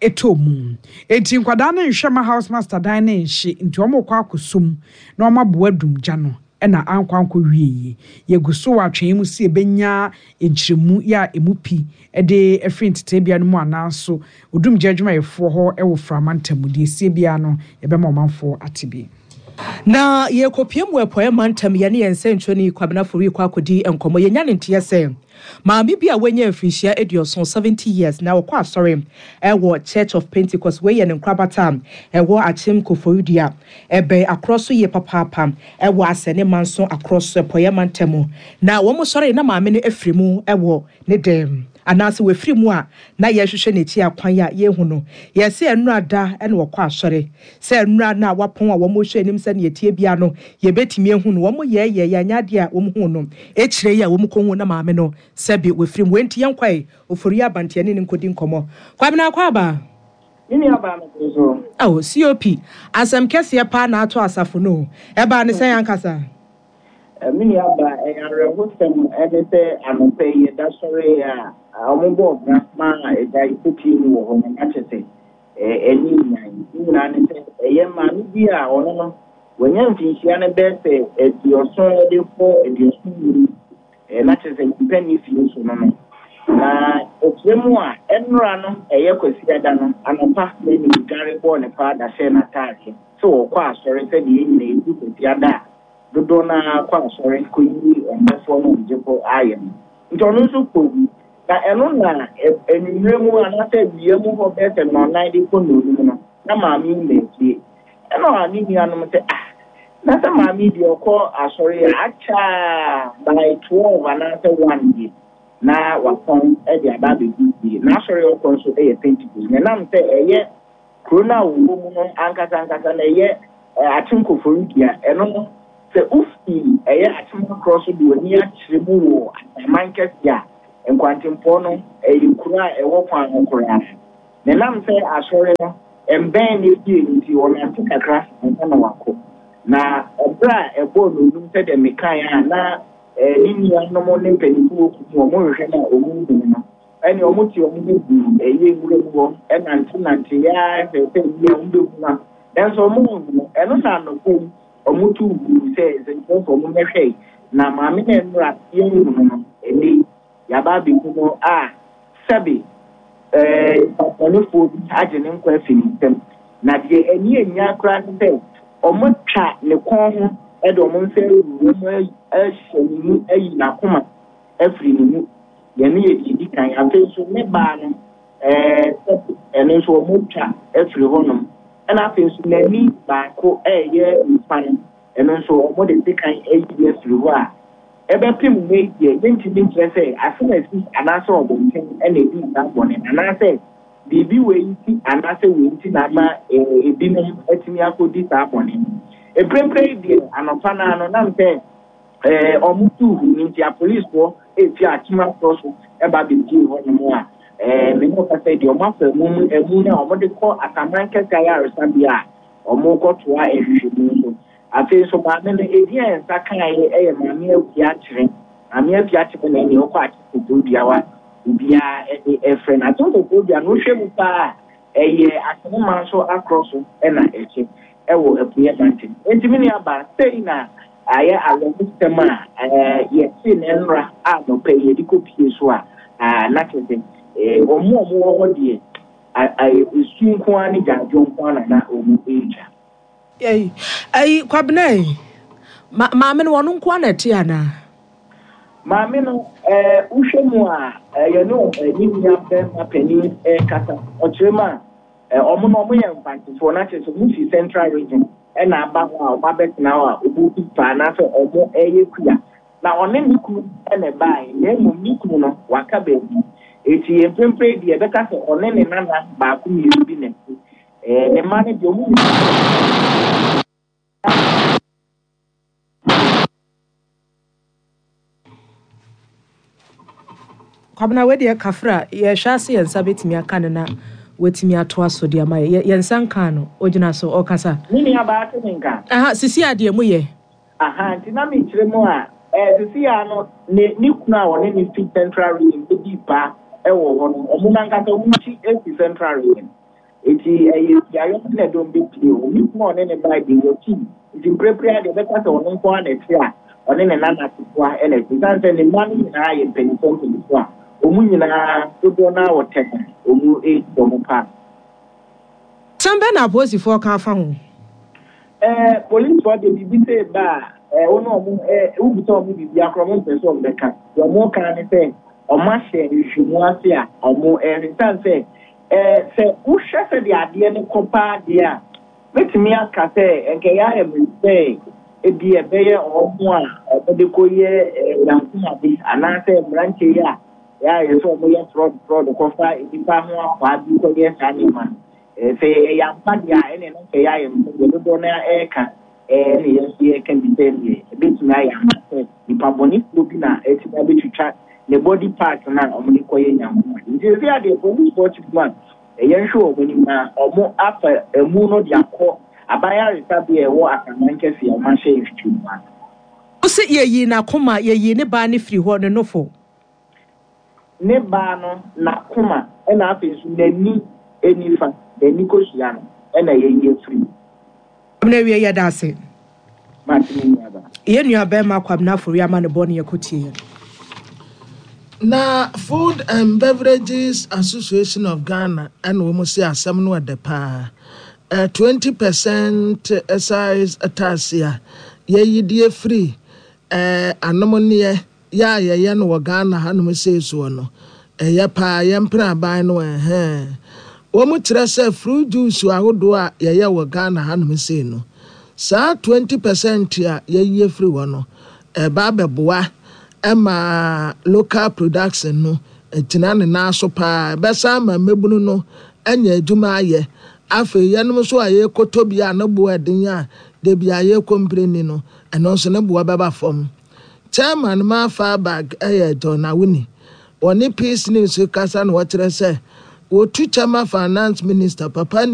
Speaker 5: ɛtɔ mu, eti nkwadaa no nhwɛ ma house master dan ne nhye, nti wɔn kɔ akɔsom na wɔn aboa dum gya no, ɛna ankɔ ankɔ wie yie. Yɛgu so wɔ atwɛn mu si ebenya nkyerɛmu yɛ a emu pi ɛde ɛfiri ntetebea no mu anaaso odumgya adwumayɛfoɔ hɔ ɛwɔ Framantam mu. Deɛ esie biara no, yɛbɛma ɔmanfoɔ ate bi.
Speaker 7: Na yɛkɔpie mu Apueɛ Mantam, yɛne yɛn nsɛntwerɛni Kwabena Fori kɔ akɔdi nkɔmmɔ. Yɛnya ne nteɛ sɛ maame bi a wanya mfirinhyia aduɔson, seventy years, na wɔkɔ asɔre ɛwɔ Church of Pentecost. Wei yɛ ne nkorabata a ɛwɔ Akyem Koforidua, ɛbɛn Akorɔ so yie papaapa, ɛwɔ Asɛne Manso Akorɔ so, Apueɛ Mantam. Na wɔn sɔre na maame no afiri mu ɛwɔ ne dɛm anaasɛ wafiri mu a na yɛhwehwɛ n'akyi akwan a yɛhu no. Yɛsɛ nnura da ɛna wɔkɔ asɔre sɛ nnura no a wapɔn a wɔn hwɛ anim sɛ nea tie bia no yɛbɛtumi ehu no. Wɔn yɛɛyɛ yɛanya adeɛ a wɔn hu no ekyire yi a wɔn kɔ hu na maame no sɛbi wafiri mu. Wɔnti yɛn kɔɛ Ofori Abanteɛ ne ne nkɔdi nkɔmɔ. Kwabena, akɔ aba.
Speaker 15: Me nua baa me so.
Speaker 7: Oh, C O P, asɛm kɛseɛ paa na ato asafo no. Ɛbaa ne sɛn ankasa?
Speaker 15: Me nua baa, ɛyɛ awerɛhosɛm ɛne sɛ anɔpɛ yi yɛda sɔre a ɔmo bɔ ɔbra ma ɛgya ekopie mu wɔ hɔ no, na kyerɛ sɛ ɛne nyan ne nyinaa ne sɛ ɛyɛ maame bi a ɔno no wanya mfinhyia no bɛyɛ sɛ aduɔson de kɔ aduɔson nnum, na kyerɛ sɛ nyimpa ne fie so no no na ɔkyerɛ mu a ɛnora no ɛyɛ Kwasiada no anɔpa na ne dware bɔɔ ne paa da hyɛ n'ataadeɛ sɛ wɔkɔ asɔre, sɛdeɛ yɛn nyinaa yɛdu Kwasiada a dodoɔ no ara kɔ asɔre kɔyi ɔmbɔfoɔ no ɔgyefo ayɛ no. Nti ɔno nso kɔ bi, na ɛno na anwummerɛ mu anaasɛ awia mu hɔ bɛyɛ sɛ nnɔnnan de kɔ nnɔnum no na maame yi ma efie. Ɛna ne nuanom sɛ, ah, na sɛ maame yi deɛ ɔkɔ asɔre a akyɛ a by twelve anaasɛ one deɛ na watɔn de aba abɛgu fie. N'asɔre a ɔkɔ nso yɛ Pentecost. Na ɛnam sɛ ɛyɛ kuro no a wɔwɔ mu no ankasa ankasa na ɛyɛ Akyem Koforidua, ɛno no, sɛ wofi ɛyɛ Akyem Akorɔ so de w'ani akyerɛ mu wɔ Asaman kɛseɛ a, Nkwantempɔn no, ɛyɛ kuro a ɛwɔ kwan ho koraa. Na ɛnam sɛ asɔre no mbɛn ne fie nti, ɔnante kakra ansa na wakɔ. Na ɛberɛ a ɛbɔɔ nnɔnnum sɛdeɛ mekaeɛ a na ne nuanom ne mpanimfoɔ wɔ kurom hɔ, wɔhwehwɛ no a wɔnhu no no, ɛnneɛ wɔte wɔn ho guu ɛyɛ nwura mu hɔ nantenanteeɛ ara hwɛɛ sɛ ebia wɔbɛhu no a, nanso wɔanhu no. Ɛno na anɔpa yi wɔtoo guu sɛ nsɛntwerɛfoɔ mommɛhwɛ na maame no a nnora yɛnhu no no, ɛnnɛ yi yɛaba abɛhu no a sɛbe nnipa bɔnefoɔ bi agye ne nkwa afi ne nsam. Na deɛ ani annya koraa ne sɛ wɔatwa ne kɔn ho de wɔn nsa awuwu mu ahyɛ ne mu ayi n'akoma afiri ne mu. Yɛn yɛ deɛ ɛdi kan. Afei nso ne baa no, sɛbe ɛno nso wɔatwa afiri hɔnom. Ɛna afei nso n'ani baako ɛreyɛ nifa no, ɛno nso wɔde sekan ayi afiri hɔ a ɛbɛpem nnɛ yi deɛ yɛntumi nkyerɛ sɛ asɛm asi anaasɛ ɔbɔnten na ɛdii saa bɔne no, anaasɛ biribi wei nti anaasɛ wei nti na ama ebinom atumi akɔdi saa bɔne no. Mprempren yi deɛ anɔpa no ara no, nam sɛ wɔn tuu hu no nti apolisifoɔ efi Akyem Akorɔ so ba bɛpie hɔnom a me ne wo kasa yi deɛ wɔn afa emu mu emu no a wɔde kɔ Asaman Kɛse Ayaresabea a wɔrekɔtoa nhwehwɛmu so. Afei nso maame no edin a yɛn nsa kaeɛ yɛ Maame Akua Kyerɛ. Maame Akua Kyerɛ na ɛnea ɔkɔ Akyem Koforidua obiara de ɛfrɛ no. Akyem Koforidua no wohwɛ mu paa a ɛyɛ Akyem nso akorɔ so na ɛkyɛ ɛwɔ Apueɛ Mantam. Enti me nua baa sei na ayɛ awerɛhosɛm a yɛte ne nnora a nɔpɛ yi yɛde kɔpie so a na kyerɛ sɛ wɔn a wɔwɔ hɔ deɛ esu nko ara ne gyaadwo nko ara na na wɔn retwa.
Speaker 7: Ei, ei, Kwabena ei, ma, maame no wɔn nko ara na ɛte anaa?
Speaker 15: Maame no, ɛɛ, wohwɛ mu a, yɛne ne nua bɛrima panin ɛrekasa. Ɔkyerɛ mu a, wɔn no wɔyɛ mfantefoɔ, na kyerɛ sɛ wɔn fi Central Region ɛna aba hɔ a wɔn abɛtena hɔ a wɔn fi paa anaasɛ wɔn ɛyɛ kua. Na ɔne ne kunu ɛna ɛbaeɛ, na mmom ne kunu no waka baabi. Eti mprempren deɛ ɛbɛka sɛ ɔne ne nana baako mmienu bi na ɛte. Eh, ne mma no deɛ ɔmo nyinaa.
Speaker 7: Kwabena wei deɛ kafra yɛhwɛ ase yɛn nsa bɛtumi aka no na watumi atoa so de ama yɛ yɛn nsa nkaa no ogyina so ɔkasa.
Speaker 15: Me nua baa te me nka.
Speaker 7: Aha sisi a deɛ mu yɛ.
Speaker 15: Aha nti na mekyerɛ mu a eh, sisi a no ne ne kunu a ɔne ne fi Central Region bɛdi pa ɛwɔ hɔ no ɔmo nankasa ɔmo akyi efi Central Region. Eti ɛyɛ beaeɛ na ɛdɔm bɛpie o. Ne kunu a ɔne ne bae deɛ wɔkyi. Nti mprempren a deɛ ɛbɛka sɛ ɔno nko ara na ɛte a ɔne ne nana ketewa na ɛte. Esiane sɛ ne mma no nyinaa yɛ mpanimfoɔ mpanimfoɔ a wɔn nyinaa dodoɔ no ara wɔ tɛm a wɔn redi wɔn paa.
Speaker 7: Asɛm bɛn na apolisifoɔ ka afa ho?
Speaker 15: Ɛɛ polisifoɔ deɛ biribi sɛ ba a ɛɛ wo ne wɔn ɛɛ wobisa wɔn biribi akora wɔn mpɛ sɛ wɔn bɛka. Deɛ wɔn ka ne sɛ wɔn ahyɛ nhwehwɛmu ase a wɔn ɛhwɛ esiane sɛ ɛɛ sɛ wohwɛ sɛdeɛ adeɛ no kɔ paa deɛ a mɛtumi aka sɛ nkɛyɛ ayɛ me sɛ ebi ɛbɛyɛ wɔn a wɔde kɔyɛ ɛɛ nyankomade anaasɛ mmeranteɛ yi a yɛayɛ sɛ wɔyɛ fraud fraud kɔfa nnipa ho akwaa bi kɔyɛ saa nneɛma no. Sɛ ɛyɛ ampa deɛ a ɛne no nkɛyɛ ayɛ me sɛ deɛ dodoɔ no ɛreka ɛne yɛn nso yɛreka bi sɛ deɛ ɛbɛtumi ayɛ ampa sɛ nipa bɔnefoɔ bi na ɛtumi abɛtwitwa ne body part no a wɔde kɔyɛ nyankomade. Nti sɛ adeɛ policefoɔ kyerɛ mu a yɛnhwɛ wɔn anim na wɔn afa emu no de akɔ aban ayaresabea a ɛwɔ Asaman kɛse a wɔn ahyɛ nhwehwɛmu ase.
Speaker 7: Wo se yɛyii n'akoma, yɛyii ne baa no firi hɔ, ne nofo.
Speaker 15: Ne baa no n'akoma ɛna afei nso n'ani nifa, n'ani kosua no ɛna yɛyi afiri mu.
Speaker 7: Kwabena wie yɛda ase.
Speaker 15: Mate me nua ba.
Speaker 7: Yɛn nua bɛrima Kwabena Afori ama ne bɔ ne yɛkɔtie yɛn.
Speaker 8: Na Food and Beverages Association of Ghana ɛna wɔn si asɛm no ɛdɛ paa. Twenty percent excise tax a yɛyi de afiri ɛɛ anomneɛ yɛ a yɛyɛ no wɔ Ghana hanom sei soɔ no, ɛyɛ paa yɛmpene aban no ɛhɛn. Wɔn kyerɛ sɛ fruit juice ahodoɔ a yɛyɛ wɔ Ghana hanom sei no, saa twenty percent a yɛyi afiri hɔ no, ɛba abɛboa Ma local production no agyina ne nan so paa. Ɛbɛsan ama mmabunu no anya adwuma ayɛ. Afei yɛnom nso a yɛrekɔtɔ bi a ne boɔ ɛden a da bi a yɛrekɔmpleni no, ɛno nso ne boɔ bɛba fam. Chairman ma Fabag yɛ John Awuni. Wɔne Peace News kasa na wɔkyerɛ sɛ wɔtu kyɛ ma Finance Minister Papa